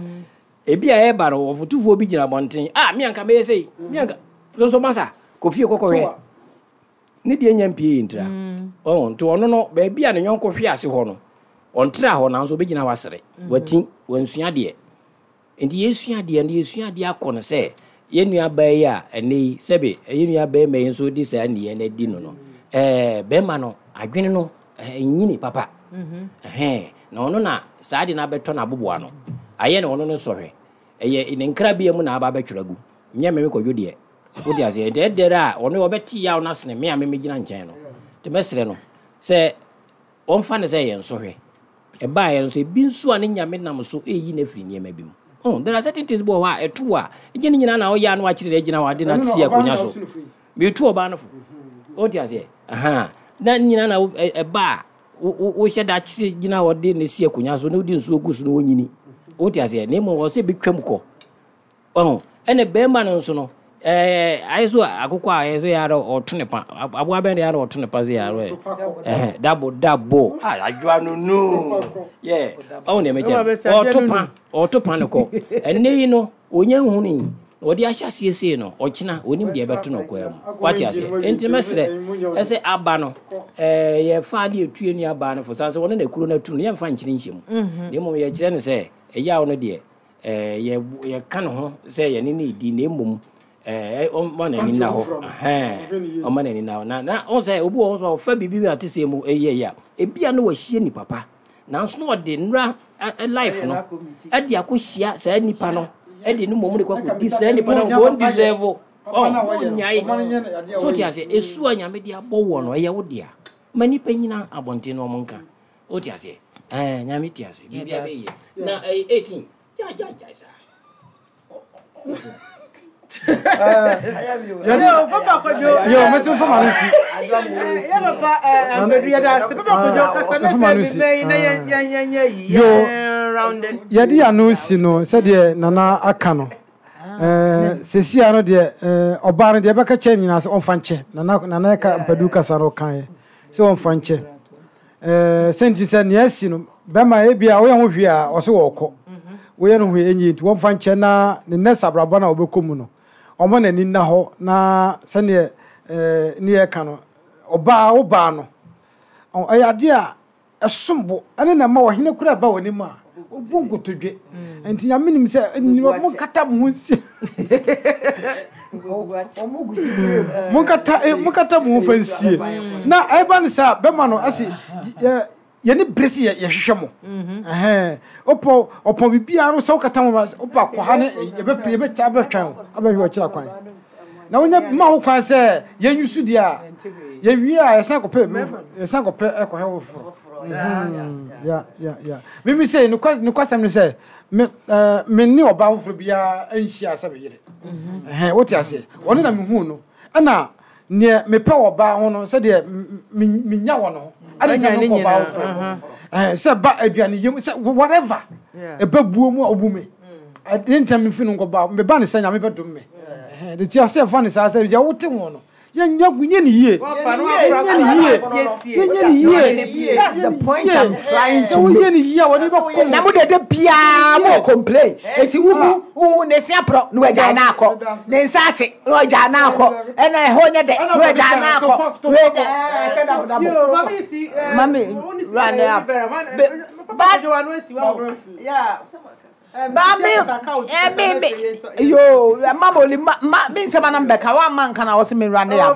ebi a ɛba no wɔfotufoɔ bi gyina abɔnten a mi anka mɛyɛ sɛ mi anka soso masa kɔ fie kɔkɔ hwɛ ne deɛ nya mpie yi ntira ɔn nti ɔno no baabi a ne yɔnko hwe ase hɔ no ɔntra hɔ nanso obɛgyina hɔ asere wati wansua deɛ. Nti yɛsua deɛ no yɛsua deɛ akɔ no sɛ yɛn nua baa yi a ɛnɛ yi sɛbe yɛn nua bɛrima yi nso di saa nneɛ no adi no no ɛɛ bɛrima no adwene no ɛnyini papa ɛhɛn na ɔno na saa de no abɛtɔ n'aboboa no ayɛ na ɔno no sɔhwɛ ɛyɛ ne nkrabea mu na aba abɛtwerɛ agu nyɛ mɛmɛ kɔdwo deɛ wode aseɛ ɛdɛ ɛdɛrɛ a ɔno ɔbɛte yaw no asene me a meme gyina nkyɛn no nti mɛsrɛ no sɛ ɔmfa ne sɛ yɛn sɔhwɛ ɛbaeɛ no nso ebi nso a ne Nyame nam so ɛyi no afiri nneɛma bi mu. Oh, there are certain things bi wɔ hɔ a ɛto a ɛgye ne nyinaa na ɔyɛ a na wakyerɛ no agyina hɔ ade na te akonnwa so metu ɔbaa no fo wote aseɛ aha na nyinaa na ɛba a wohyɛ da kyerɛ gyina hɔ de ne si akonnwa so na wode nsuo gu so na wɔnyini wote aseɛ na mmom wɔ sɛ bɛtwam kɔ ɔho ɛna bɛrima no nso no ɛɛ ayɛ so akokɔ a ɛyɛ sɛ yɛ ara ɔto ne pa aboa bɛn de yɛ ara ɔto ne pa sɛ yɛ ara ɛhɛn dabo dabo adwoa no no yɛ ɔho deɛ mɛkyɛ ɔto pa ɔto pa no kɔ ɛnɛ yi no onya nhunu yi ɔde ahyɛ aseɛ sei no ɔkyena onim deɛ ɛbɛto no kɔɛ mu wate aseɛ nti mɛsrɛ ɛsɛ aba no ɛɛ yɛfa de etue ne aba no fo san sɛ wɔne na kuro no atu no yɛmfa nkyene nhyɛ mu na mmom yɛkyerɛ no sɛ ɛyaw no deɛ ɛɛ yɛ yɛka ne ho sɛ yɛne ne di na mmom ɛɛ ɔma n'ani na hɔ ɛhɛn ɔma n'ani na hɔ na na ɔn sɛ obi wɔ hɔ nso a ɔfa biribi bi a te sɛ mu ɛyɛ yɛ a ebia no wahyia nipa pa nanso na ɔde nnura life no ɛde akɔhyia saa nipa no ɛde ne mmom de kɔ akɔdi saa nipa no wɔn deserve ɔn wɔn so te aseɛ esu a Nyame de abɔ wɔ no ɛyɛ wo dea ma nipa nyina abɔnten na ɔmo nka o te aseɛ ɛɛ Nyame te aseɛ biribi abɛyɛ na ɛyɛ eighteen gya gya gya saa. Yo, mesi mfama no si. Yo, yɛde yɛ ano si no sɛdeɛ Nana aka no. Eh, sesia no deɛ ɔbaa no deɛ ɛbɛka kyɛ nyinaa sɛ ɔmfa nkyɛ. Nana Nana ɛka mpadu kasa no ɔkaeɛ sɛ ɔmfa nkyɛ. Eh, sɛnti sɛ nea asi no bɛma ebi a woyɛ ho hwee a ɔsɛ wɔkɔ. Woyɛ no hwee enyi nti wɔmfa nkyɛ na ne nɛs abrabɔ na wɔbɛkɔ mu no. Ɔmo n'ani nna hɔ na sɛneɛ eh, ne yɛka no ɔbaa wo baa no ɛyɛ adeɛ a ɛsom bo ɛne na ɛma ɔhene kora ɛba w'anim a obu nkotodwe nti Nyame nim sɛ monkata mo ho nsie monkata monkata mo ho fa nsie na ɛba ne sɛ bɛma no ɛse yɛne bere sɛ yɛhwehwɛ mo ɛhɛn ɔpɔ ɔpɔ biribiara no sɛ wokata mo wopa kɔ ha ne yɛbɛkyɛ abɛhwɛn wo abɛhwɛ ɔkyerɛ kwan na wonya ma ho kwan sɛ yɛnyu so deɛ a yɛwie a yɛsan kɔpɛ yɛsan kɔpɛ ɛkɔhwɛ wo foforɔ. Yeah, yeah, yeah. Mimi sɛ nokwasɛm no sɛ me eh, me ne ɔbaa foforɔ biara nhyia sɛ me yere. Ɛhɛn, wote aseɛ? Ɔno na mehuu no, ɛna neɛ mepɛ wɔ ɔbaa ho no, sɛdeɛ menya wɔ no ho ade ntina mekɔ ɔbaa foforɔ. Ɛhɛn, sɛ ba aduane yam sɛ whatever ɛbɛ buo mu a ɔbu me ade ntina memfi no nkɔ baa meba ne sɛ Nyame bɛdom me. Ɛhɛn, de tia sɛ ɛfa ne saa sɛ deɛ wote ho no, yɛnyɛ ne yie, yɛnyɛ ne yie, yɛnyɛ ne yie. That's the point I'm trying to make. Woyɛ ne yie a wɔde bɛkɔ. Na mo dede biara mo complain. Eti wuhu wuhu ne se aprɔ na wagya na akɔ. Ne nsa ate na wagya na akɔ. Ɛna ɛhɔ nyɛ dɛ na wagya na akɔ. Wagya sɛ dabo dabo. Mami run up. But ba me eh me me yo ma mo li ma me nsɛm anam bɛka wa ma nka na wɔse me run up.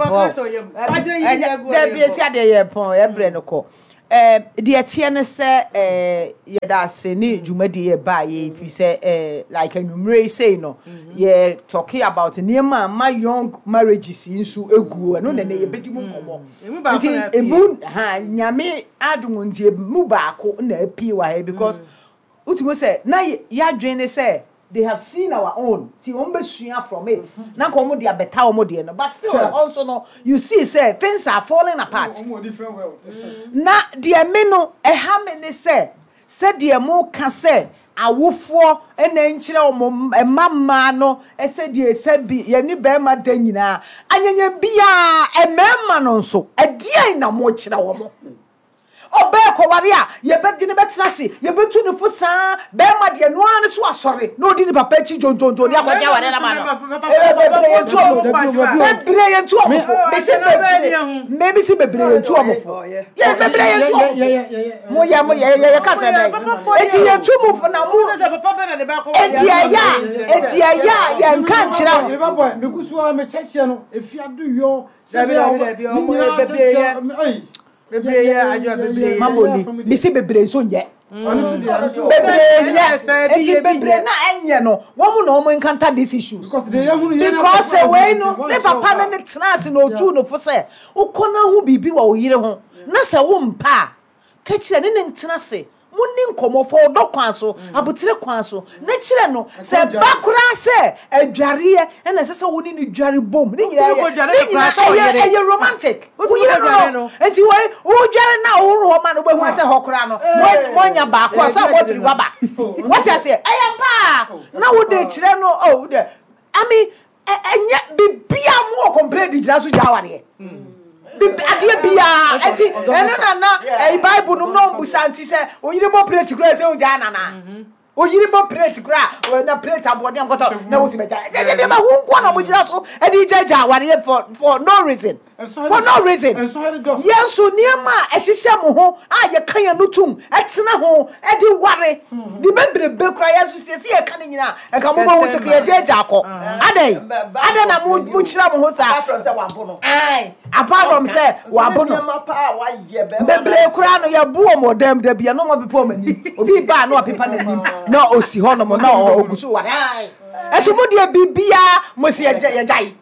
Dabi esi adeɛ yɛ pɔn ɛbrɛ no kɔ. Eh deɛ teɛ ne sɛ eh yɛda ase ne dwumadie yɛ ba yɛ fi sɛ eh like anwummere sei no yɛ talking about nneɛma ma young marriages nso egu ɛno na ne yɛbɛdi mu nkɔmmɔ. Nti emu ha Nyame adom nti emu baako na apie wɔ ha because Utimo sɛ na yadwene ne sɛ they have seen our own ti wɔn bɛsua from it na nka wɔn de abɛta wɔn deɛ no, but still ɛhɔ nso no you see sɛ things are falling apart. Na deɛ me no ɛha me ne sɛ sɛdeɛ mo ka sɛ awofoɔ na nkyerɛ wɔn mma mmaa no sɛdeɛ sɛ bi yɛne bɛrima da nyinaa anyanyam biara mmarima no nso ɛdeɛn na mo kyerɛ wɔn? Ɔbaa kɔware a, yɛbɛde no bɛtena ase, yɛbɛtu no fo saa. Bɛrima deɛ, no ara ne so asɔre na ɔdi ne papa akyi dwondwondwon de akɔgye awareɛ no ama no. Bebree yɛntu wɔn fo. Bebree yɛntu wɔn fo. Mese bebree, me mese bebree yɛntu wɔn fo. Yɛ bebree yɛntu wɔn fo. Mo yɛ mo yɛ yɛ yɛ kasa dɛ. Eti yɛtu mo fo na mo. Eti ɛyɛ a, eti ɛyɛ a yɛnka nkyerɛ ho. Megu so a mekyɛkyɛ no, efi adoyɔ sɛ bɛyɛ a ne nyinaa kyɛkyɛ. Mamoli, mese bebree nso nyɛ. Bebree nyɛ. Eti bebree na ɛnyɛ no, wɔn na wɔn encounter these issues. Because wei no, ne papa ne ne tena ase na otu no fo sɛ, wokɔ na ho biribi wɔ wo yere ho, na sɛ wo mpa a, ka kyerɛ ne ne ntena ase. Monni nkɔmmɔ, fa ɔdɔ kwan so, abotire kwan so, na kyerɛ no sɛ ba koraa sɛ adwareɛ ɛna ɛsɛ sɛ wo ne no dware bom. Ne nyinaa yɛ, ne nyinaa ɛyɛ, ɛyɛ romantic. Wo yere no no, nti wei, wodware na wohoro hɔ ma no, wobɛhu sɛ hɔ koraa no, moanya baako a sɛ wɔtiri waba. Wate aseɛ? Ɛyɛ paa. Na wode kyerɛ no, oh, wode, I mean, ɛnyɛ bibia mo wɔ complain de gyina so gya awareɛ. Adeɛ biara ɛti ɛno na na ɛyi Bible no na ɔmbusa nti sɛ oyiri bɔ plate koraa sɛ ogya nana oyiri bɔ plate koraa na plate aboɔden akɔtɔ na wosi bɛgya ɛdeɛ deɛ bɛ ho nkoa na ɔmo gyina so ɛde gyagya awareɛ for for no reason for no reason. Yɛn nso nneɛma a ɛhyehyɛ mo ho a yɛka yɛn no tum ɛtena ho ɛde ware ne bebrebe koraa yɛn nso siesie yɛka ne nyinaa ɛka mo bɛ ho sɛ yɛgye agya akɔ adɛn adɛn na mo mo kyerɛ mo ho saa. Apart from sɛ wabo no bebree koraa no yɛbo wɔn wɔ dɛm da bia na wɔn apepa wɔn anim obi baa na wapepa n'anim na osi hɔ nom na ogu so wa ɛso mo deɛ biribiara mo si yɛgya yɛgyae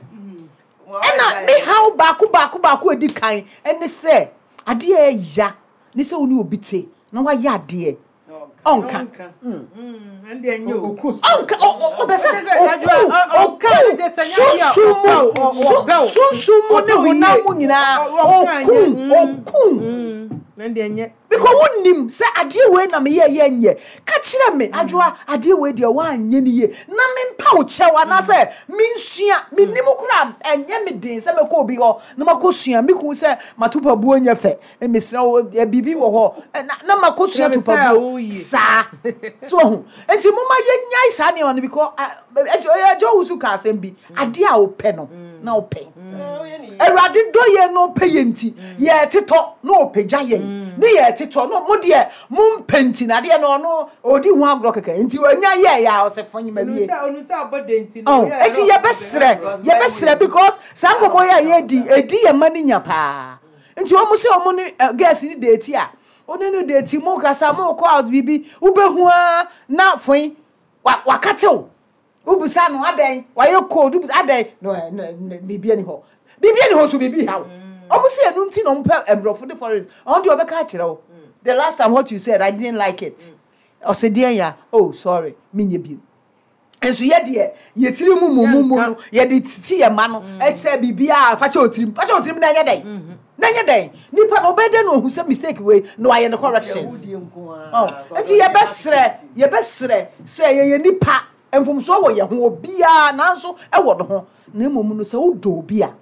ɛna me haw baako baako baako edi kan ɛne sɛ adeɛ ɛya ne sɛ wo ne obi te na wayɛ adeɛ ɔnka ɔnka ɔbɛ sɛ oku oku sunsun mu sunsun mu ne honam mu nyinaa oku oku because wonim sɛ adeɛ wei na meyɛ yɛ nyɛ ka kyerɛ me adwoa adeɛ wei deɛ woanyɛ ne yie na mempa wo kyɛw anaasɛ mensua mennim koraa ɛnyɛ me den sɛ mɛkɔ obi hɔ na makɔsua meku sɛ matopabuo nyɛ fɛ mesrɛ wo biribi wɔ hɔ na makɔsua topabuo saa so ɔho nti moma yɛnyae saa nneɛma no because ɛgya wo so ka asɛm bi adeɛ a wopɛ no na wopɛ Awurade dɔ yɛn na ɔpɛ yɛn nti yɛtetɔ na ɔpɛgya yɛn ne yɛtetɔ no mo deɛ mompɛ nti na adeɛ no ɔno ɔdi ho agorɔ kɛkɛ nti ɔnya yɛɛ yɛ a ɔsɛ fo nyima wie nti yɛbɛserɛ yɛbɛserɛ because saa nkɔmmɔ yɛ a yɛdi ɛdi yɛ ma no nya paa nti ɔmo sɛ ɔmo ne girls ne date a ɔne no date mo kasa mo kɔ out biribi wobɛhu a na foe wakatew wobusa no adɛn wayɛ cold wobusa adɛn no biribi ani hɔ biribi ani hɔ so biribi haw ɔmo sɛ ɛno nti na ɔmo pɛ mborɔfo de foreign ɔno deɛ ɔbɛka akyerɛ wo The last time what you said, I didn't like it. Ɔsɛ deɛ ya, oh sorry, menyɛ bio. Nso yɛ deɛ yɛtiri mu mu mu mu no yɛde titi yɛ ma no ɛsɛ biribiara fa kyɛ otirim fa kyɛ otirim na ɛnyɛ dɛn na ɛnyɛ dɛn nipa na ɔbɛyɛ dɛn na ohu sɛ mistake wei na wayɛ no corrections. Oh, nti yɛbɛsrɛ yɛbɛsrɛ sɛ yɛyɛ nipa mfomsoɔ wɔ yɛn ho obiara nanso ɛwɔ ne ho na mmom no sɛ wodɔ obi a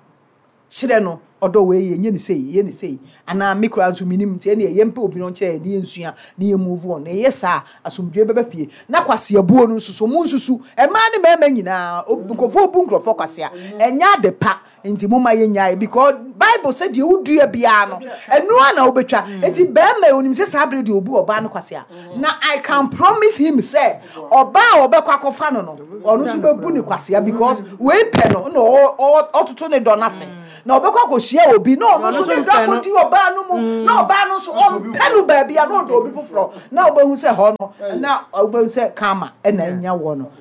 kyerɛ no ɔdɔ wei yɛ nye ne sei yɛ ne sei anaa me koraa nso menim nti ɛne yɛmpɛ obi no nkyerɛ yɛ ne yɛnsua ne yɛ move on na ɛyɛ saa asomdwoe bɛba fie na kwaseabuo no nso so mu nsusu mmaa ne mmarima nyinaa nkurɔfoɔ bu nkurɔfoɔ kwasea ɛnyɛ ade pa nti mo ma yɛnyae because Bible sɛ deɛ wodua biara no ɛno a na wobɛtwa nti bɛrima onim sɛ saa bere deɛ obu ɔbaa no kwasea na I can promise him sɛ ɔbaa a ɔbɛkɔ akɔfa no no ɔno nso bɛbu ne kwasea because wei pɛ no na ɔtoto ne dɔ n'ase na ɔbɛkɔ akɔhyia obi na ɔno nso ne dɔ akɔdi ɔbaa no mu na ɔbaa no nso ɔmpɛ no baabi a na ɔdɔ obi foforɔ na wobɛhu sɛ hɔ no na wobɛhu sɛ karma ɛna anya wɔ no.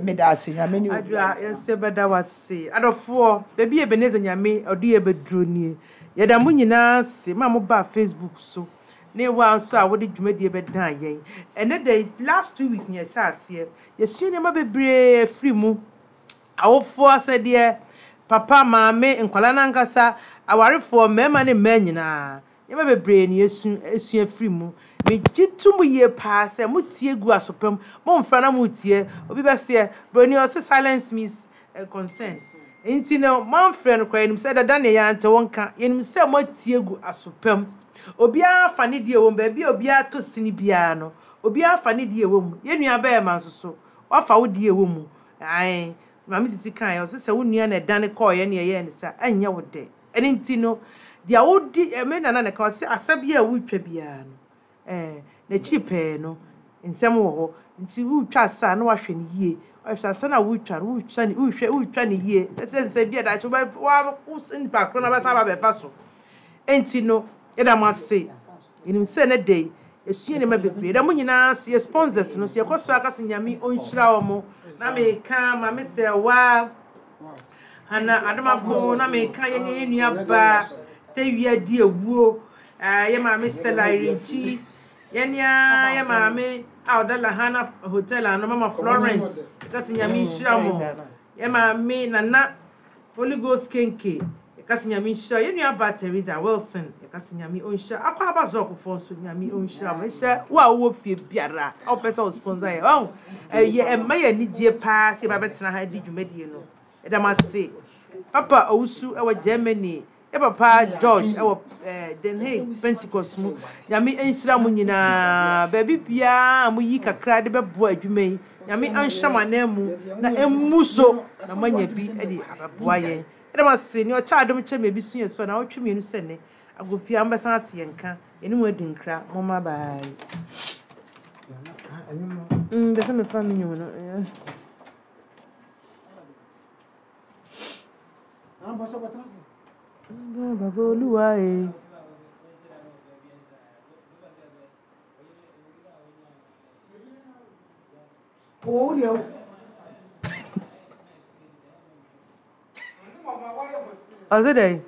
Meda ase Nyame ne obi. Adwoa yɛnso yɛbɛda wase adɔfoɔ baabi Ebenezer Nyame ɔde yɛ bɛduro nie yɛda mo nyinaa ase ma mo baa Facebook so ne wa nso a wode dwumadie bɛdan yɛn ɛnɛ da last two weeks ne yɛhyɛ aseɛ yɛsua nneɛma bebree afiri mu awofoɔ asɛdeɛ papa maame nkwalaa nankasa awarefoɔ mmarima ne mmaa nyinaa nneɛma bebree ne yɛsu esua firi mu megye to mu yie paa sɛ motie gu asopam momfra na motie obi bɛseɛ broni ɔse silence means uh, consent nti no moamfrɛ no koraa yɛnim sɛ dada ne yɛante wo nka yɛnim sɛ moatie gu asopam obiara fa ne deɛ wɔ mu baabi a obiara tɔ sini biara no obiara fa ne deɛ wɔ mu yɛn nua bɛrima nso so wafa wo deɛ wɔ mu ae maame sisi kan ɔsɛ sɛ wo nua na ɛdane kɔɔyɛ ne ɛyɛ ne sa ɛnyɛ wo dɛ ɛne nti no deɛ wodi ɛmɛ nana ne ka ɔsɛ asa bi a wotwa biara no ɛɛ n'akyi pɛɛ no nsɛm wɔ hɔ nti wotwa asa na wahwɛ ne yie wahwɛ asa na wotwa no wotwa ne wohwɛ wotwa ne yie ɛsɛ sɛ bi a daakye wobɛ wa wo nipa koro na bɛsa aba bɛfa so nti no yɛda mo ase yɛnim sɛ ne de esua nneɛma bebree yɛda mo nyinaa ase yɛ sponsors no so yɛkɔ so aka sɛ Nyame ɔnhyira wɔn na meka maame sɛ waa Hana Adomako na meka yɛn yɛn nua baa tewia di ewuo ɛɛ yɛ maame Stella Irenkyi yɛn ya yɛ maame a ɔda Lahana Hotel ano mama Florence yɛka sɛ Nyame nhyira mo yɛ maame Nana Holy Ghost Kenke yɛka sɛ Nyame nhyira yɛn nua baa Teresa Wilson yɛka sɛ Nyame ɔnhyira akɔ aba zɔkofoɔ nso Nyame ɔnhyira mo ɛhyɛ wo a wowɔ fie biara a wopɛ sɛ wo sponsor yɛ ɔho ɛyɛ ɛmma yɛ anigye paa sɛ yɛba bɛtena ha di dwumadie no ɛda mo ase papa Owusu ɛwɔ Germany yɛ papa George ɛwɔ ɛɛ Den Haag Pentecost mu Nyame nhyira mo nyinaa baabi biara a moyi kakra de bɛboa adwuma yi Nyame anhyɛ mo anan mu na emu so na moanya bi de abɛboa yɛn ɛda mo ase nea ɔkyɛ adom kyɛ me ebi so yɛ so na ɔtwe mmienu sɛ ne agofia mbɛsan ate yɛn nka yɛne mu adi nkra momma bye. Mm, bɛ sɛ mefa me nwom no. Eh. Baba Olúwa e. Wo deɛ Ɔse dɛn?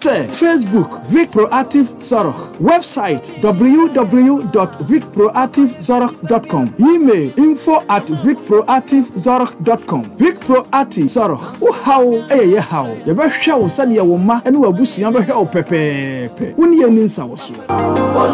Facebook Vic Proactive Zorg, website w w w dot vic proactive zorg dot com, email info at vic proactive zorg dot com. Vic Proactive Zorg, wo haw ɛyɛ yɛ haw, yɛbɛhwɛ wo sɛdeɛ wo mma ne w'abusua bɛhwɛ wo pɛpɛɛpɛ. Wo ne yɛn ni nsa wɔ so.